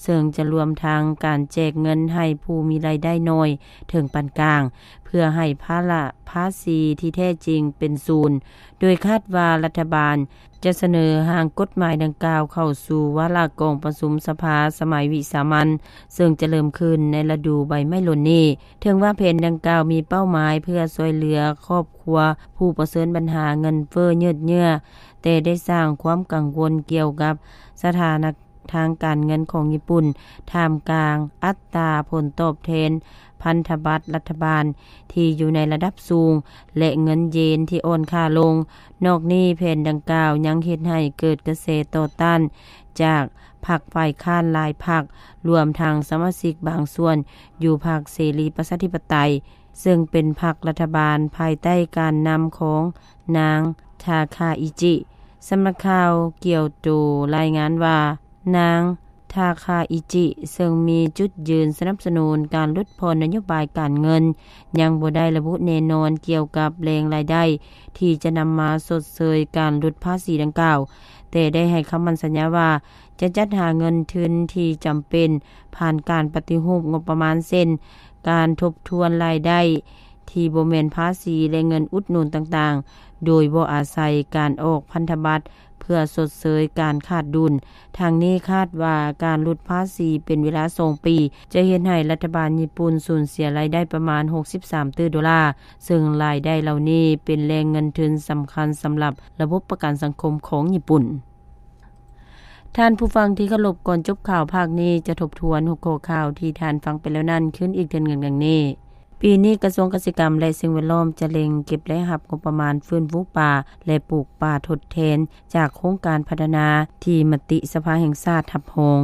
ເຊິ່ງຈະລວມທັງການແຈກເງິນໃຫ້ຜູ້ມີລາຍໄດ້ໜ້ອຍເຖິງປານກາງ ເພື່ອໃຫ້ພາລະພາສີທີ່ແທ້ຈິງເປັນສູນ, ໂດຍຄາດວ່າລັດຖະບານຈະສະເໜີຮ່າງກົດໝາຍດັ່ງກ່າວເຂົ້າສູ່ວາລະກອງປະຊຸມສະພາສະໄໝວິສາມັນ ເຊິ່ງຈະເລີ່ມຂຶ້ນໃນລະດູໃບໄມ້ຫຼົ່ນນີ້. ເຖິງວ່າແຜນດັ່ງກ່າວມີເປົ້າໝາຍເພື່ອຊ່ວຍເຫຼືອຄອບຄົວຜູ້ປະເຊີນບັນຫາເງິນເຟີ້ຍືດເຍື້ອ, ແຕ່ໄດ້ສ້າງຄວາມກັງວົນກ່ຽວກັບສະຖານະທາງການເງິນຂອງຍີ່ປຸ່ນ ທ່າມກາງອັດຕາຜົນຕອບແທນພັນທະບັດລັດຖະບານທີ່ຢູ່ໃນລະດັບສູງ ແລະ ເງິນເຢນທີ່ອ່ອນຄ່າລົງ. ນອກນີ້, ແຜນດັ່ງກ່າວຍັງເຮັດໃຫ້ເກີດກະແສຕໍ່ຕ້ານຈາກ ພັກຝ່າຍຄ້ານຫຼາຍພັກ, ລວມທັງສະມາຊິກບາງສ່ວນຢູ່ພັກເສລີປະຊາທິປະໄຕ, ເຊິ່ງເປັນພັກລັດຖະບານພາຍໃຕ້ການນຳຂອງນາງ ທາຄາອິຈິ. ສຳນັກຂ່າວກຽວໂຕລາຍງານວ່າ ນາງ ທາຄາອິຈິ ເຊິ່ງມີຈຸດຢືນສະໜັບສະໜູນການຫຼຸດຜ່ອນນະໂຍບາຍການເງິນ, ຍັງບໍ່ໄດ້ລະບຸແນ່ນອນກ່ຽວກັບແຫຼ່ງລາຍໄດ້ທີ່ຈະນຳມາຊົດເຊີຍການຫຼຸດພາສີດັ່ງກ່າວ, ແຕ່ໄດ້ໃຫ້ຄຳໝັ້ນສັນຍາວ່າ ຈະຈັດຫາເງິນທຶນທີ່ຈຳເປັນຜ່ານການປະຕິຮູບງົບປະມານ ເຊັ່ນ ການທົບທວນລາຍໄດ້ທີ່ບໍ່ແມ່ນພາສີ ແລະ ເງິນອຸດໜູນຕ່າງໆ ໂດຍບໍ່ອາໄສການອອກພັນທະບັດເພື່ອຊົດເຊີຍການຂາດດຸນ. ທັງນີ້ຄາດວ່າການຫຼຸດພາສີເປັນເວລາສອງປີ ຈະເຮັດໃຫ້ລັດຖະບານຍີ່ປຸ່ນສູນເສຍລາຍໄດ້ປະມານຫົກສິບສາມຕື້ໂດລາ, ເຊິ່ງລາຍໄດ້ເຫຼົ່ານີ້ເປັນແຫຼ່ງເງິນທຶນສຳຄັນສຳລັບລະບົບປະກັນສັງຄົມຂອງຍີ່ປຸ່ນ. ທ່ານຜູ້ຟັງທີ່ເຄົາລົບ, ກ່ອນຈົບຂ່າວພາກນີ້ ຈະທົບທວນຫົວຂໍ້ຂ່າວທີ່ທ່ານຟັງໄປແລ້ວນັ້ນຄືນອີກເທື່ອໜຶ່ງດັ່ງນີ້. ປີນີ້ກະຊວງກະສິກຳ ແລະ ສິ່ງແວດລ້ອມຈະເລັ່ງເກັບລາຍຮັບງົບປະມານຟື້ນຟູປ່າ ແລະ ປູກປ່າທົດແທນຈາກໂຄງການພັດທະນາທີ່ມະຕິສະພາແຫ່ງຊາດຮັບຮອງ.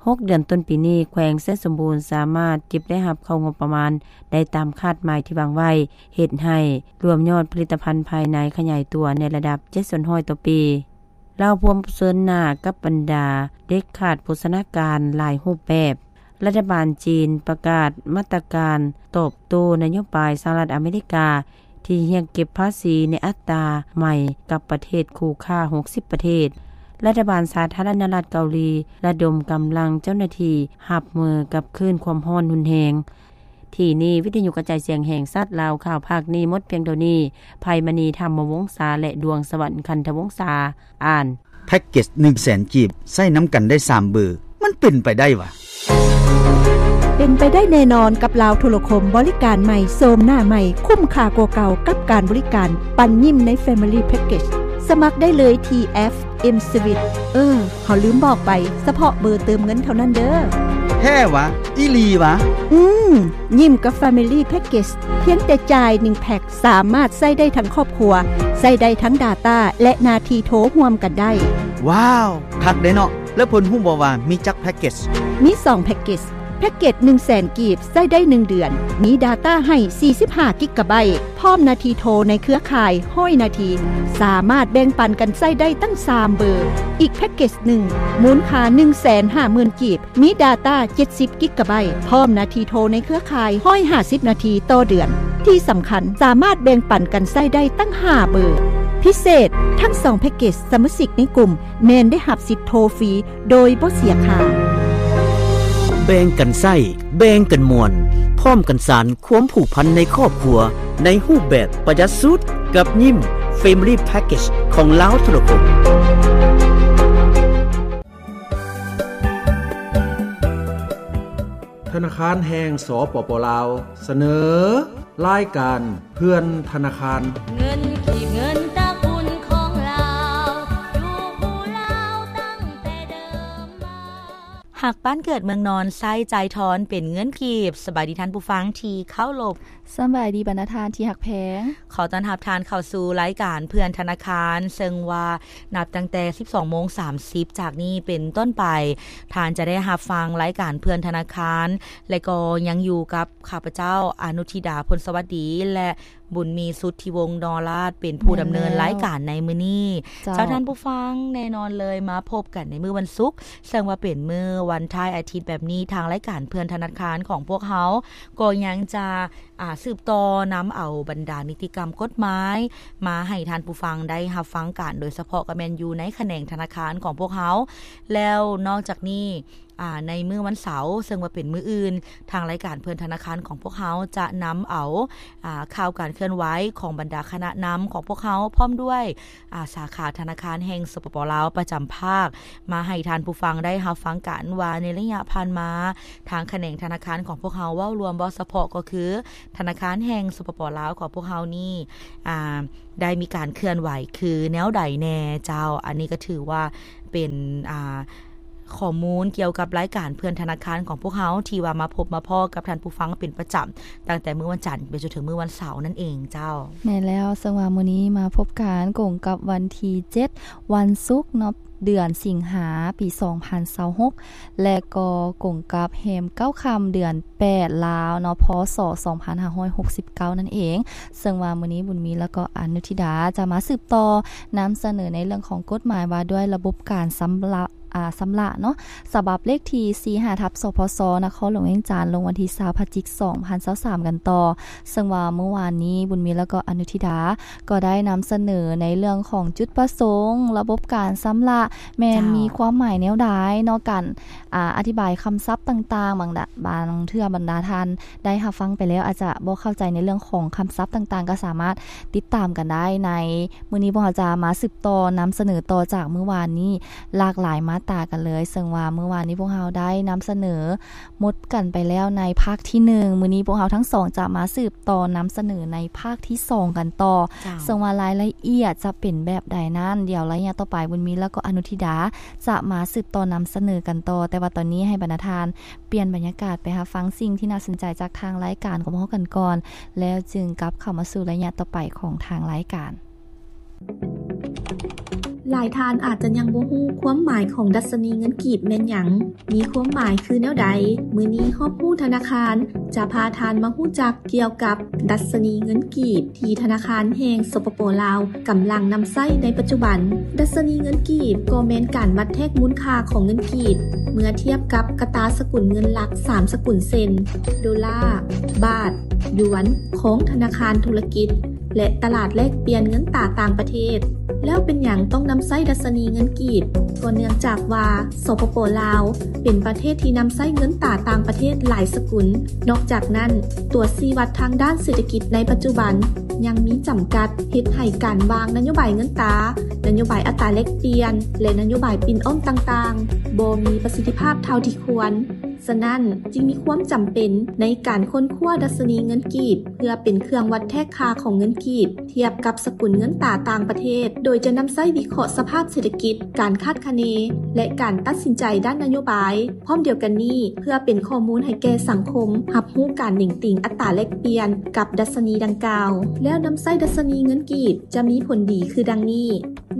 ຫົກເດືອນຕົ້ນປີນີ້ ແຂວງໄຊສົມບູນສາມາດເກັບລາຍຮັບເຂົ້າງົບປະມານໄດ້ຕາມຄາດໝາຍທີ່ວາງໄວ້, ເຮັດໃຫ້ລວມຍອດຜະລິດຕະພັນພາຍໃນຂະຫຍາຍຕົວໃນລະດັບເຈັດສ່ວນຮ້ອຍຕໍ່ປີ. ລາວພວມປະເຊີນໜ້າກັບບັນດາເດັກຂາດໂພຊະນາການຫຼາຍຮູບແບບ. ລັດຖະບານຈີນປະກາດມາດຕະການຕອບໂຕ້ນະໂຍບາຍສະຫະລັດອາເມລິກາທີ່ຮຽກເກັບພາສີໃນອັດຕາໃໝ່ກັບປະເທດຄູ່ຄ້າຫົກສິບປະເທດ. ລັດຖະບານສາທາລະນະລັດເກົາຫຼີລະດົມກຳລັງເຈົ້າໜ້າທີ່ຮັບມືກັບຄື້ນຄວາມຮ້ອນຮຸນແຮງ. ທີ່ນີ້ ວິທະຍຸກະຈາຍສຽງແຫ່ງຊາດລາວ ຂ່າວພາກນີ້ໝົດພຽງເທົ່ານີ້. ໄພມະນີ ທຳມະວົງສາ ແລະ ດວງສະຫວັນ ຄັນທະວົງສາ ອ່ານ. ແພັກເກັດໜຶ່ງແສນກີບ ໃຊ້ນຳກັນໄດ້ສາມເບີ ມັນເປັນໄປໄດ້ຫວາ? ເປັນໄປໄດ້ແນ່ນອນກັບລາວໂທລະຄົມ ບໍລິການໃໝ່ ໂສມໜ້າໃໝ່ ຄຸ້ມຄ່າກວ່າເກົ່າກັບການບໍລິການ ປັນຍິ້ມໃນ Family Package. ສະໝັກໄດ້ເລີຍທີ່ແອັບ M-Sweet. ເອີ ເຮົາລືມບອກໄປ, ສະເພາະເບີເຕີມເງິນເທົ່ານັ້ນເດີ້. ແທ້ຫວາ? ອີ່ຫຼີຫວາ? ອືມ, ຍິ້ມກັບ Family Package ພຽງແຕ່ຈ່າຍໜຶ່ງແພັກ ສາມາດໃຊ້ໄດ້ທັງຄອບຄົວ, ໃຊ້ໄດ້ທັງ data ແລະ ໜ້າທີ່ໂທຮ່ວມກັນໄດ້. ວ້າວ, ຄັກເດ້ເນາະ. ແລ້ວເພິ່ນຮູ້ບໍ່ວ່າມີຈັກແພັກເກັດ? ມີສອງແພັກເກັດ. ແພັກເກັດໜຶ່ງແສນກີບ ໃຊ້ໄດ້ໜຶ່ງເດືອນ, ມີ data ໃຫ້ສີ່ສິບຫ້າກິກກະໄບ, ພ້ອມໜ້າທີ່ໂທໃນເຄືອຂ່າຍຮ້ອຍນາທີ, ສາມາດແບ່ງປັນກັນໃຊ້ໄດ້ຕັ້ງສາມເບີ. ອີກແພັກເກັດໜຶ່ງ ມູນຄ່າໜຶ່ງແສນຫ້າໝື່ນກີບ, ມີ data ເຈັດສິບກິກກະໄບ, ພ້ອມໜ້າທີ່ໂທໃນເຄືອຂ່າຍຮ້ອຍຫ້າສິບນາທີຕໍ່ເດືອນ. ທີ່ສຳຄັນ, ສາມາດແບ່ງປັນກັນໃຊ້ໄດ້ຕັ້ງຫ້າເບີ. ພິເສດ, ທັງສອງແພັກເກັດ ສະມາຊິກໃນກຸ່ມ ແມ່ນໄດ້ຮັບສິດໂທຟຣີໂດຍບໍ່ເສຍຄ່າ. ແບ່ງກັນໃຊ້, ແບ່ງກັນມ່ວນ, ພ້ອມກັນສານຄວາມຜູກພັນໃນຄອບຄົວ ໃນຮູບແບບປະຢັດສຸດ ກັບຍິ້ມ Family Package ຂອງລາວໂທລະຄົມ. ທະນາຄານແຫ່ງ ສປປ ລາວ ສະເໜີ ລາຍການເພື່ອນທະນາຄານ. ເງິນກີບ ເງິນຕະກຸນຂອງລາວ ຢູ່ຄູ່ລາວຕັ້ງແຕ່ເດີມມາ. ຮັກບ້ານເກີດເມືອງນອນ ໃຊ້ຈ່າຍທອນເປັນເງິນກີບ. ສະບາຍດີທ່ານຜູ້ຟັງທີ່ເຄົາລົບ. ສະບາຍດີບັນດາທ່ານທີ່ຮັກແພງ. ຂໍຕ້ອນຮັບທ່ານເຂົ້າສູ່ລາຍການເພື່ອນທະນາຄານ, ເຊິ່ງວ່ານັບຕັ້ງແຕ່ສິບສອງໂມງສາມສິບຈາກນີ້ເປັນຕົ້ນໄປ, ທ່ານຈະໄດ້ຮັບຟັງລາຍການເພື່ອນທະນາຄານ ແລະ ກໍຍັງຢູ່ກັບຂ້າພະເຈົ້າ ອະນຸທິດາ ພົນສະຫວັດດີ ແລະ ບຸນມີ ສຸດທິວົງ ນໍລາດ ເປັນຜູ້ດຳເນີນລາຍການໃນມື້ນີ້. ເຈົ້າ. ເຈົ້າ ທ່ານຜູ້ຟັງ, ແນ່ນອນເລີຍ ມາພົບກັນໃນມື້ວັນສຸກ ເຊິ່ງວ່າເປັນມື້ວັນທ້າຍອາທິດແບບນີ້, ທາງລາຍການເພື່ອນທະນາຄານຂອງພວກເຮົາກໍຍັງຈະ ອາ ສືບຕໍ່ນຳເອົາບັນດານິຕິກຳກົດໝາຍມາໃຫ້ທ່ານຜູ້ຟັງໄດ້ຮັບຟັງກັນ, ໂດຍສະເພາະກໍແມ່ນຢູ່ໃນຂະແໜງທະນາຄານຂອງພວກເຮົາ. ແລ້ວນອກຈາກນີ້ ອາ ໃນມື້ວັນເສົາ ເຊິ່ງວ່າເປັນມື້ອື່ນ, ທາງລາຍການເພື່ອນທະນາຄານຂອງພວກເຮົາຈະນຳເອົາ ອາ ຂ່າວການເຄື່ອນໄຫວຂອງບັນດາຄະນະນຳຂອງພວກເຮົາ ພ້ອມດ້ວຍ ອາ ສາຂາທະນາຄານແຫ່ງ ສປປ ລາວ ປະຈຳພາກ ມາໃຫ້ທ່ານຜູ້ຟັງໄດ້ຮັບຟັງກັນວ່າ ໃນໄລຍະຜ່ານມາ ທາງຂະແໜງທະນາຄານຂອງພວກເຮົາ ເວົ້າລວມ ເວົ້າສະເພາະ ກໍຄືທະນາຄານແຫ່ງ ສປປ ລາວ ຂອງພວກເຮົານີ້ ອາ ໄດ້ມີການເຄື່ອນໄຫວຄືແນວໃດແດ່ເຈົ້າ. ອັນນີ້ກໍຖືວ່າເປັນ ອາ ຂໍ້ມູນກ່ຽວກັບລາຍການເພື່ອນທະນາຄານຂອງພວກເຮົາ ທີ່ວ່າມາພົບມາພໍ້ກັບທ່ານຜູ້ຟັງເປັນປະຈຳ ຕັ້ງແຕ່ມື້ວັນຈັນໄປຈົນເຖິງມື້ວັນເສົານັ້ນເອງເຈົ້າ. ແມ່ນແລ້ວ, ເຊິ່ງວ່າມື້ນີ້ມາພົບກັນກົງກັບວັນທີເຈັດ ວັນສຸກເນາະ, ເດືອນສິງຫາ ປີສອງພັນຊາວຫົກ ແລະ ກໍກົງກັບແຮມເກົ້າຄ່ຳ ເດືອນແປດ ລາວເນາະ, ພ.ສ. ສອງພັນຫ້າຮ້ອຍຫົກສິບເກົ້າ ນັ້ນເອງ. ເຊິ່ງວ່າມື້ນີ້ບຸນມີ ແລະ ກໍອະນຸທິດາຈະມາສືບຕໍ່ນຳສະເໜີໃນເລື່ອງຂອງກົດໝາຍວ່າດ້ວຍລະບົບການຊຳລະ ອາ ຊຳລະເນາະ, ສະບັບເລກທີສີ່ຫ້າ ທັບ ສພສ ນະຄອນຫຼວງວຽງຈັນ ລົງວັນທີຊາວ ພະຈິກ ສອງພັນຊາວສາມ ກັນຕໍ່. ເຊິ່ງວ່າມື້ວານນີ້ ບຸນມີ ແລະ ກໍອະນຸທິດາ ກໍໄດ້ນຳສະເໜີໃນເລື່ອງຂອງຈຸດປະສົງ, ລະບົບການຊຳລະ ແມ່ນ ເຈົ້າ ມີຄວາມໝາຍແນວໃດເນາະ, ການ ອາ ອະທິບາຍຄຳສັບຕ່າງໆ, ບາງດາ ບາງເທື່ອບັນດາທ່ານໄດ້ຮັບຟັງໄປແລ້ວ ອາດຈະບໍ່ເຂົ້າໃຈໃນເລື່ອງຂອງຄຳສັບຕ່າງໆ, ກໍສາມາດຕິດຕາມກັນໄດ້ໃນ ມື້ນີ້ພວກເຮົາຈະມາສືບຕໍ່ນຳສະເໜີຕໍ່ຈາກມື້ວານນີ້ ຫຼາກຫຼາຍມາດຕາກັນເລີຍ. ເຊິ່ງວ່າມື້ວານນີ້ພວກເຮົາໄດ້ນຳສະເໜີໝົດກັນໄປແລ້ວໃນພາກທີໜຶ່ງ, ມື້ນີ້ພວກເຮົາທັງສອງຈະມາສືບຕໍ່ນຳສະເໜີໃນພາກທີສອງກັນຕໍ່. ເຈົ້າ. ເຊິ່ງວ່າລາຍລະອຽດຈະເປັນແບບໃດນັ້ນ, ດຽວໄລຍະຕໍ່ໄປ ບຸນມີ ແລະ ກໍອະນຸທິດາຈະມາສືບຕໍ່ນຳສະເໜີກັນຕໍ່. ແຕ່ວ່າຕອນນີ້ໃຫ້ບັນດາທ່ານປ່ຽນບັນຍາກາດໄປຮັບຟັງສິ່ງທີ່ໜ້າສົນໃຈຈາກທາງລາຍການຂອງພວກເຮົາກັນກ່ອນ, ແລ້ວຈຶ່ງກັບເຂົ້າມາສູ່ໄລຍະຕໍ່ໄປຂອງທາງລາຍການ. ຫຼາຍທ່ານອາດຈະຍັງບໍ່ຮູ້ຄວາມໝາຍຂອງດັດຊະນີເງິນກີບແມ່ນຫຍັງ, ມີຄວາມໝາຍຄືແນວໃດ? ມື້ນີ້ຮອບຮູ້ທະນາຄານຈະພາທ່ານມາຮູ້ຈັກກ່ຽວກັບດັດຊະນີເງິນກີບ ທີ່ທະນາຄານແຫ່ງ ສປປ ລາວ ກຳລັງນຳໃຊ້ໃນປັດຈຸບັນ. ດັດຊະນີເງິນກີບກໍແມ່ນການວັດແທກມູນຄ່າຂອງເງິນກີບ ເມື່ອທຽບກັບກະຕາສະກຸນເງິນຫຼັກສາມສະກຸນເຊັ່ນ ໂດລາ, ບາດ, ຢວນ ຂອງທະນາຄານທຸລະກິດ ແລະ ຕະຫຼາດແລກປ່ຽນເງິນຕາຕ່າງປະເທດ. ແລ້ວເປັນຫຍັງຕ້ອງນຳໃຊ້ດັດຊະນີເງິນກີບ? ກໍເນື່ອງຈາກວ່າ ສປປ ລາວ ເປັນປະເທດທີ່ນຳໃຊ້ເງິນຕາຕ່າງປະເທດຫຼາຍສະກຸນ. ນອກຈາກນັ້ນ, ຕົວຊີ້ວັດທາງດ້ານເສດຖະກິດໃນປັດຈຸບັນຍັງມີຈຳກັດ, ເຮັດໃຫ້ການວາງນະໂຍບາຍເງິນຕາ, ນະໂຍບາຍອັດຕາແລກປ່ຽນ ແລະ ນະໂຍບາຍປິ່ນອ່ອນຕ່າງໆ ບໍ່ມີປະສິດທິພາບເທົ່າທີ່ຄວນ. ສະນັ້ນ, ຈຶ່ງມີຄວາມຈຳເປັນໃນການຄົ້ນຄວ້າດັດຊະນີເງິນກີບ ເພື່ອເປັນເຄື່ອງວັດແທກຄ່າຂອງເງິນກີບ ທຽບກັບສະກຸນເງິນຕາຕ່າງປະເທດ, ໂດຍຈະນຳໃຊ້ວິເຄາະສະພາບເສດຖະກິດ, ການຄາດຄະເນ ແລະ ການຕັດສິນໃຈດ້ານນະໂຍບາຍ. ພ້ອມດຽວກັນນີ້, ເພື່ອເປັນຂໍ້ມູນໃຫ້ແກ່ສັງຄົມຮັບຮູ້ການເໜັງຕີງອັດຕາແລກປ່ຽນກັບດັດຊະນີດັ່ງກ່າວ. ແລ້ວນຳໃຊ້ດັດຊະນີເງິນກີບຈະມີຜົນດີຄືດັ່ງນີ້.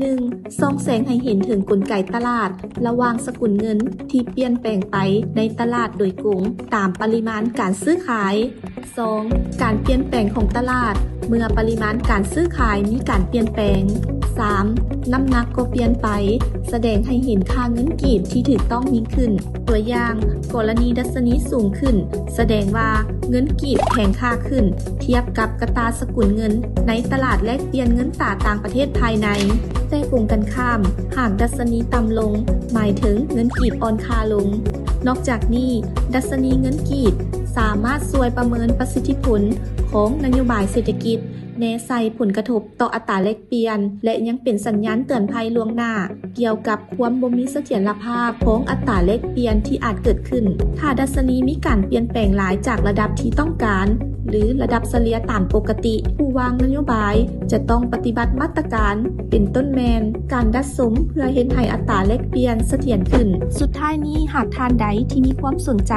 ໜຶ່ງ, ສ່ອງແສງໃຫ້ເຫັນເຖິງກົນໄກຕະຫຼາດລະຫວ່າງສະກຸນເງິນທີ່ປ່ຽນແປງໄປໃນຕະຫຼາດໂດຍກົງຕາມປະລິມານການຊື້ຂາຍ. ສອງ, ການປ່ຽນແປງຂອງຕະຫຼາດເມື່ອປະລິມານການຊື້ຂາຍມີການປ່ຽນແປງ. ສາມ, ນ້ຳໜັກກໍປ່ຽນໄປ, ສະແດງໃຫ້ເຫັນຄ່າເງິນກີບທີ່ຖືກຕ້ອງຍິ່ງຂຶ້ນ. ຕົວຢ່າງ, ກໍລະນີດັດຊະນີສູງຂຶ້ນ, ສະແດງວ່າເງິນກີບແຂງຄ່າຂຶ້ນ ທຽບກັບກະຕາສະກຸນເງິນໃນຕະຫຼາດແລກປ່ຽນເງິນຕາຕ່າງປະເທດພາຍໃນ. ແຕ່ກົງກັນຂ້າມ, ຫາກດັດຊະນີຕ່ຳລົງ, ໝາຍເຖິງເງິນກີບອ່ອນຄ່າລົງ. ນອກຈາກນີ້, ດັດຊະນີເງິນກີບສາມາດຊ່ວຍປະເມີນປະສິດທິຜົນຂອງນະໂຍບາຍເສດຖະກິດ, ແນໃສ່ຜົນກະທົບຕໍ່ອັດຕາແລກປ່ຽນ ແລະ ຍັງເປັນສັນຍານເຕືອນໄພລ່ວງໜ້າ ກ່ຽວກັບຄວາມບໍ່ມີສະຖຽນລະພາບຂອງອັດຕາແລກປ່ຽນທີ່ອາດເກີດຂຶ້ນ ຖ້າດັດຊະນີມີການປ່ຽນແປງຫຼາຍຈາກລະດັບທີ່ຕ້ອງການ, ຫຼື ລະດັບສະເລ່ຍຕາມປົກກະຕິ. ຜູ້ວາງນະໂຍບາຍຈະຕ້ອງປະຕິບັດມາດຕະການ ເປັນຕົ້ນແມ່ນ ການດັດສົມເພື່ອເຮັດໃຫ້ອັດຕາແລກປ່ຽນສະຖຽນຂຶ້ນ. ສຸດທ້າຍນີ້, ຫາກທ່ານໃດທີ່ມີຄວາມສົນໃຈ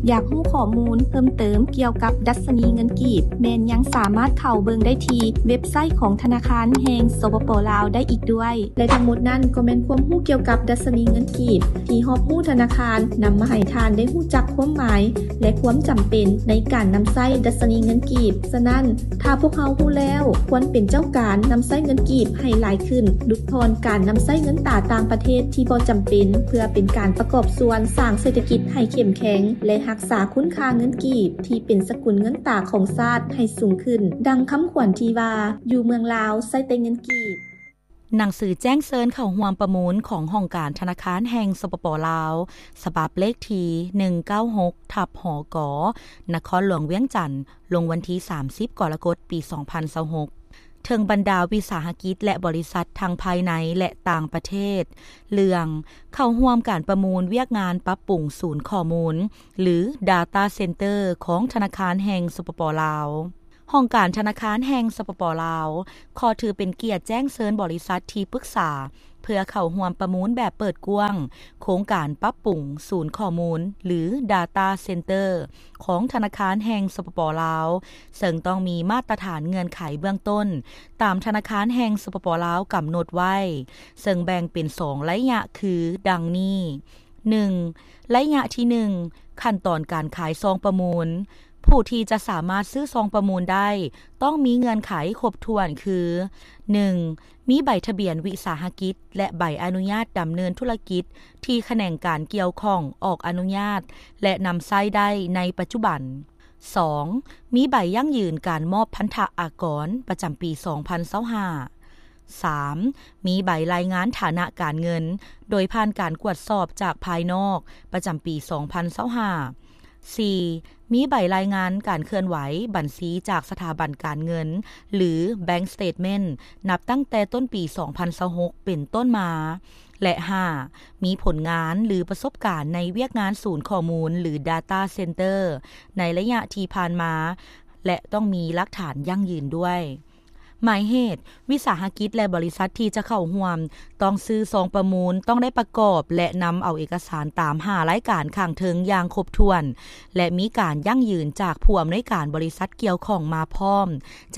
ຢາກຮູ້ຂໍ້ມູນເພີ່ມເຕີມກ່ຽວກັບດັດຊະນີເງິນກີບ, ແມ່ນຍັງສາມາດເຂົ້າເບິ່ງໄດ້ທີ່ເວັບໄຊຂອງທະນາຄານແຫ່ງ ສປປ ລາວ ໄດ້ອີກດ້ວຍ. ແລະ ທັງໝົດນັ້ນກໍແມ່ນຄວາມຮູ້ກ່ຽວກັບດັດຊະນີເງິນກີບ ທີ່ຮອບຮູ້ທະນາຄານນຳມາໃຫ້ທ່ານໄດ້ຮູ້ຈັກຄວາມໝາຍ ແລະ ຄວາມຈຳເປັນໃນການນຳໃຊ້ດັດຊະນີເງິນກີບ. ສະນັ້ນ, ຖ້າພວກເຮົາຮູ້ແລ້ວ, ຄວນເປັນເຈົ້າການນຳໃຊ້ເງິນກີບໃຫ້ຫຼາຍຂຶ້ນ, ຫຼຸດຜ່ອນການນຳໃຊ້ເງິນຕາຕ່າງປະເທດທີ່ບໍ່ຈຳເປັນ, ເພື່ອເປັນການປະກອບສ່ວນສ້າງເສດຖະກິດໃຫ້ເຂັ້ມແຂງ ແລະ ຮັກສາຄຸນຄ່າເງິນກີບທີ່ເປັນສະກຸນເງິນຕາຂອງຊາດໃຫ້ສູງຂຶ້ນ. ດັ່ງຄຳຂວັນທີ່ວ່າ, ຢູ່ເມືອງລາວໃຊ້ແຕ່ເງິນກີບ. ໜັງສືແຈ້ງເຊີນເຂົ້າຮ່ວມປະມູນຂອງຫ້ອງການທະນາຄານແຫ່ງ ສປປ ລາວ ສະບັບເລກທີ ໜຶ່ງເກົ້າຫົກ ທັບ ຫກ ນະຄອນຫຼວງວຽງຈັນ ລົງວັນທີ ສາມສິບ ກໍລະກົດ ປີ ສອງພັນຊາວຫົກ ເຖິງບັນດາວິສາຫະກິດ ແລະ ບໍລິສັດທັງພາຍໃນ ແລະ ຕ່າງປະເທດ ເລື່ອງເຂົ້າຮ່ວມການປະມູນວຽກງານປັບປຸງສູນຂໍ້ມູນ ຫຼື Data Center ຂອງທະນາຄານແຫ່ງ ສປປ ລາວ. ຫ້ອງການທະນາຄານແຫ່ງ ສປປ ລາວ ຂໍຖືເປັນກຽດແຈ້ງເຊີນບໍລິສັດທີ່ປຶກສາ ເພື່ອເຂົ້າຮ່ວມປະມູນແບບເປີດກວ້າງ ໂຄງການປັບປຸງສູນຂໍ້ມູນ ຫຼື Data Center ຂອງທະນາຄານແຫ່ງ ສປປ ລາວ ເຊິ່ງຕ້ອງມີມາດຕະຖານເງື່ອນໄຂເບື້ອງຕົ້ນ ຕາມທະນາຄານແຫ່ງ ສປປ ລາວ ກຳນົດໄວ້, ເຊິ່ງແບ່ງເປັນສອງໄລຍະຄືດັ່ງນີ້. ໜຶ່ງ, ໄລຍະທີໜຶ່ງ, ຂັ້ນຕອນການຂາຍຊອງປະມູນ. ຜູ້ທີ່ຈະສາມາດຊື້ຊອງປະມູນໄດ້ ຕ້ອງມີເງື່ອນໄຂຄົບຖ້ວນຄື ໜຶ່ງ, ມີໃບທະບຽນວິສາຫະກິດ ແລະ ໃບອະນຸຍາດດຳເນີນທຸລະກິດທີ່ຂະແໜງການກ່ຽວຂ້ອງອອກອະນຸຍາດ ແລະ ນຳໃຊ້ໄດ້ໃນປັດຈຸບັນ. ສອງ, ມີໃບຢັ້ງຢືນການມອບພັນທະອາກອນປະຈຳປີສອງພັນຊາວຫ້າ. ສາມ, ມີໃບລາຍງານຖານະການເງິນໂດຍຜ່ານການກວດສອບຈາກພາຍນອກປະຈຳປີສອງພັນຊາວຫ້າ. ສີ່, ມີໃບລາຍງານການເຄື່ອນໄຫວບັນຊີຈາກສະຖາບັນການເງິນ ຫຼື Bank Statement ນັບຕັ້ງແຕ່ຕົ້ນປີສອງພັນຊາວຫົກເປັນຕົ້ນມາ. ແລະ ຫ້າ, ມີຜົນງານ ຫຼື ປະສົບການໃນວຽກງານສູນຂໍ້ມູນ ຫຼື Data Center ໃນໄລຍະທີ່ຜ່ານມາ ແລະ ຕ້ອງມີຫຼັກຖານຢັ້ງຢືນດ້ວຍ. ໝາຍເຫດ, ວິສາຫະກິດ ແລະ ບໍລິສັດທີ່ຈະເຂົ້າຮ່ວມ ຕ້ອງຊື້ຊອງປະມູນ, ຕ້ອງໄດ້ປະກອບ ແລະ ນຳເອົາເອກະສານຕາມຫ້າລາຍການຂ້າງເທິງຢ່າງຄົບຖ້ວນ ແລະ ມີການຢັ້ງຢືນຈາກຜູ້ອຳນວຍການບໍລິສັດກ່ຽວຂ້ອງມາພ້ອມ.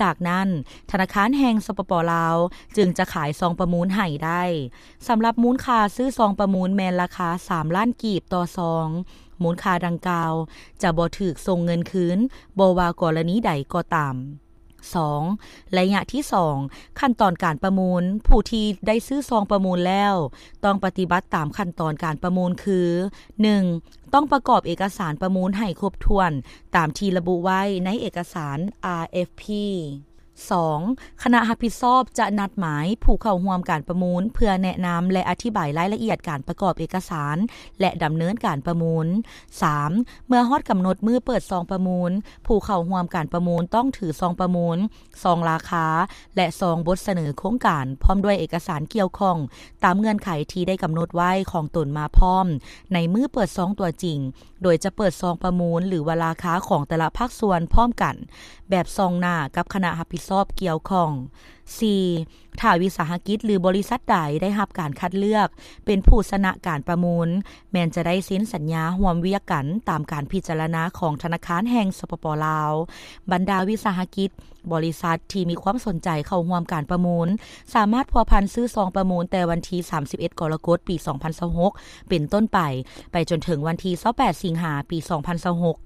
ຈາກນັ້ນ, ທະນາຄານແຫ່ງ ສປປ ລາວ ຈຶ່ງຈະຂາຍຊອງປະມູນໃຫ້ໄດ້. ສຳລັບມູນຄ່າຊື້ຊອງປະມູນແມ່ນລາຄາສາມລ້ານກີບຕໍ່ຊອງ. ມູນຄ່າດັ່ງກ່າວຈະບໍ່ຖືກສົ່ງເງິນຄືນ, ບໍ່ວ່າກໍລະນີໃດກໍຕາມ. ສອງ, ໄລຍະທີສອງ, ຂັ້ນຕອນການປະມູນ. ຜູ້ທີ່ໄດ້ຊື້ຊອງປະມູນແລ້ວ ຕ້ອງປະຕິບັດຕາມຂັ້ນຕອນການປະມູນຄື ໜຶ່ງ, ຕ້ອງປະກອບເອກະສານປະມູນໃຫ້ຄົບຖ້ວນຕາມທີ່ລະບຸໄວ້ໃນເອກະສານ ອາ ເອັຟ ພີ. ສອງ, ຄະນະຮັບຜິດຊອບຈະນັດໝາຍຜູ້ເຂົ້າຮ່ວມການປະມູນ ເພື່ອແນະນຳ ແລະ ອະທິບາຍລາຍລະອຽດການປະກອບເອກະສານ ແລະ ດຳເນີນການປະມູນ. ສາມ, ເມື່ອຮອດກຳນົດມື້ເປີດຊອງປະມູນ, ຜູ້ເຂົ້າຮ່ວມການປະມູນຕ້ອງຖືຊອງປະມູນ, ຊອງລາຄາ ແລະ ຊອງບົດສະເໜີໂຄງການ ພ້ອມດ້ວຍເອກະສານກ່ຽວຂ້ອງ ຕາມເງື່ອນໄຂທີ່ໄດ້ກຳນົດໄວ້ຂອງຕົນມາພ້ອມ ໃນມື້ເປີດຊອງຕົວຈິງ, ໂດຍຈະເປີດຊອງປະມູນ ຫຼືວ່າລາຄາຂອງແຕ່ລະພາກສ່ວນພ້ອມກັນ ແບບສ່ອງໜ້າກັບຄະນະຮັບຜິດຊອບກ່ຽວຂ້ອງ. ສີ່, ຖ້າວິສາຫະກິດ ຫຼື ບໍລິສັດໃດໄດ້ຮັບການຄັດເລືອກເປັນຜູ້ຊະນະການປະມູນ, ແມ່ນຈະໄດ້ເຊັນສັນຍາຮ່ວມວຽກກັນຕາມການພິຈາລະນາຂອງທະນາຄານແຫ່ງ ສປປ ລາວ. ບັນດາວິສາຫະກິດ, ບໍລິສັດທີ່ມີຄວາມສົນໃຈເຂົ້າຮ່ວມການປະມູນ ສາມາດພົວພັນຊື້ຊອງປະມູນແຕ່ວັນທີ ສາມສິບເອັດ ກໍລະກົດ ປີ ສອງພັນຊາວຫົກ ເປັນຕົ້ນໄປ, ໄປຈົນເຖິງວັນທີ ຊາວແປດ ສິງຫາ ປີ ສອງພັນຊາວຫົກ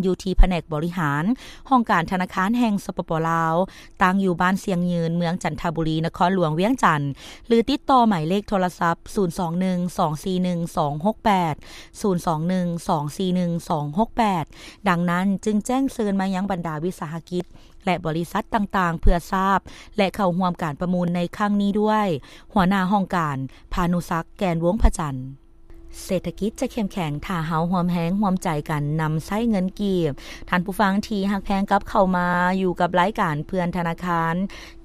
ຢູ່ທີ່ພະແນກບໍລິຫານ ຫ້ອງການທະນາຄານແຫ່ງ ສປປ ລາວ, ຕັ້ງຢູ່ບ້ານຊຽງຍືນ, ເມືອງຈັນທະບູລີ, ນະຄອນຫຼວງວຽງຈັນ ຫຼື ຕິດຕໍ່ໝາຍເລກໂທລະສັບ ສູນສອງໜຶ່ງ ສອງສີ່ໜຶ່ງ ສອງຫົກແປດ ສູນສອງໜຶ່ງ ສອງສີ່ໜຶ່ງ ສອງຫົກແປດ. ດັ່ງນັ້ນ, ຈຶ່ງແຈ້ງເຊີນມາຍັງບັນດາວິສາຫະກິດ ແລະ ບໍລິສັດຕ່າງໆ ເພື່ອຊາບ ແລະ ເຂົ້າຮ່ວມການປະມູນໃນຄັ້ງນີ້ດ້ວຍ. ຫົວໜ້າຫ້ອງການ ພານຸສັກ ແກ່ນວົງພະຈັນ. ເສດຖະກິດຈະເຂັ້ມແຂງ ຖ້າເຮົາຮ່ວມແຮງຮ່ວມໃຈກັນນຳໃຊ້ເງິນກີບ. ທ່ານຜູ້ຟັງທີ່ຮັກແພງ ກັບເຂົ້າມາຢູ່ກັບລາຍການເພື່ອນທະນາຄານ,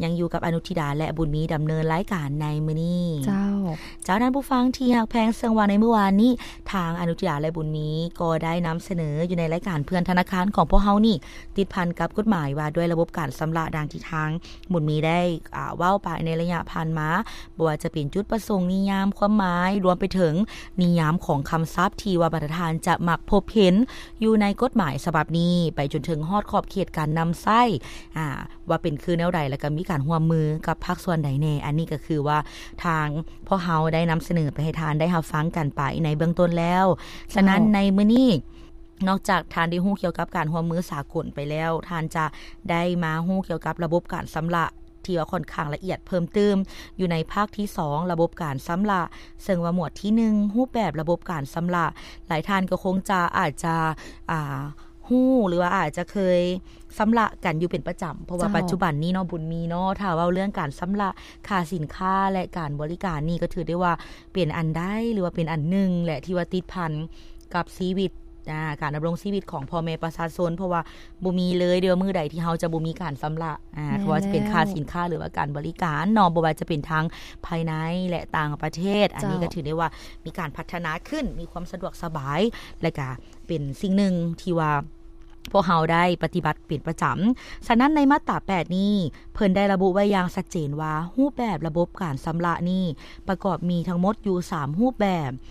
ຍັງຢູ່ກັບອະນຸທິດາ ແລະ ບຸນມີ ດຳເນີນລາຍການໃນມື້ນີ້. ເຈົ້າ. ເຈົ້າ, ທ່ານຜູ້ຟັງທີ່ຮັກແພງ, ເຊິ່ງວ່າໃນມື້ວານນີ້ ທາງອະນຸທິດາ ແລະ ບຸນມີ ກໍໄດ້ນຳສະເໜີຢູ່ໃນລາຍການເພື່ອນທະນາຄານຂອງພວກເຮົານີ້ ຕິດພັນກັບກົດໝາຍວ່າດ້ວຍລະບົບການຊຳລະ ດັ່ງທີ່ທາງບຸນມີໄດ້ ອາ ເວົ້າໄປໃນໄລຍະຜ່ານມາ, ບໍ່ວ່າຈະເປັນຈຸດປະສົງ, ນິຍາມ, ຄວາມໝາຍ, ລວມໄປເຖິງນິຍາມຂອງຄຳສັບທີ່ວ່າບັນດາທ່ານຈະມັກພົບເຫັນຢູ່ໃນກົດໝາຍສະບັບນີ້, ໄປຈົນເຖິງຮອດຂອບເຂດການນຳໃຊ້ ອາ ວ່າເປັນຄືແນວໃດ ແລ້ວກໍມີການຮ່ວມມືກັບພາກສ່ວນໃດແດ່. ອັນນີ້ກໍຄືວ່າທາງພວກເຮົາໄດ້ນຳສະເໜີໄປໃຫ້ທ່ານໄດ້ຮັບຟັງກັນໄປໃນເບື້ອງຕົ້ນແລ້ວ. ສະນັ້ນ ເຈົ້າ ໃນມື້ນີ້ ນອກຈາກທ່ານໄດ້ຮູ້ກ່ຽວກັບການຮ່ວມມືສາກົນໄປແລ້ວ, ທ່ານຈະໄດ້ມາຮູ້ກ່ຽວກັບລະບົບການຊຳລະທີ່ວ່າຂ້ອນຂ້າງລະອຽດເພີ່ມຕື່ມ ຢູ່ໃນພາກທີສອງ ລະບົບການຊຳລະ, ເຊິ່ງວ່າໝວດທີໜຶ່ງ ຮູບແບບລະບົບການຊຳລະ. ຫຼາຍທ່ານກໍຄົງຈະ ອາດຈະ ອາ ຮູ້ ຫຼືວ່າອາດຈະເຄີຍຊຳລະກັນຢູ່ເປັນປະຈຳ, ເພາະວ່າ ເຈົ້າ ປັດຈຸບັນນີ້ເນາະ ບຸນມີເນາະ, ຖ້າເວົ້າເລື່ອງການຊຳລະຄ່າສິນຄ້າ ແລະ ການບໍລິການນີ້ ກໍຖືໄດ້ວ່າເປັນອັນໃດ ຫຼືວ່າເປັນອັນໜຶ່ງແຫຼະ ທີ່ວ່າຕິດພັນກັບຊີວິດ ອາ ການດຳລົງຊີວິດຂອງພໍ່ແມ່ປະຊາຊົນ, ເພາະວ່າບໍ່ມີເລີຍເດີ ມື້ໃດທີ່ເຮົາຈະບໍ່ມີການຊຳລະ ອາ ແມ່ນແລ້ວ ບໍ່ວ່າຈະເປັນຄ່າສິນຄ້າ ຫຼືວ່າການບໍລິການເນາະ, ບໍ່ວ່າຈະເປັນທັງພາຍໃນ ແລະ ຕ່າງປະເທດ. ເຈົ້າ. ອັນນີ້ກໍຖືໄດ້ວ່າມີການພັດທະນາຂຶ້ນ, ມີຄວາມສະດວກສະບາຍ ແລະ ກະເປັນສິ່ງໜຶ່ງທີ່ວ່າ ພວກເຮົາໄດ້ປະຕິບັດເປັນປະຈຳ. ສະນັ້ນ ໃນມາດຕາແປດນີ້ ເພິ່ນໄດ້ລະບຸໄວ້ຢ່າງຊັດເຈນວ່າ ຮູບແບບລະບົບການຊຳລະນີ້ ປະກອບມີທັງໝົດຢູ່ສາມຮູບແບບ.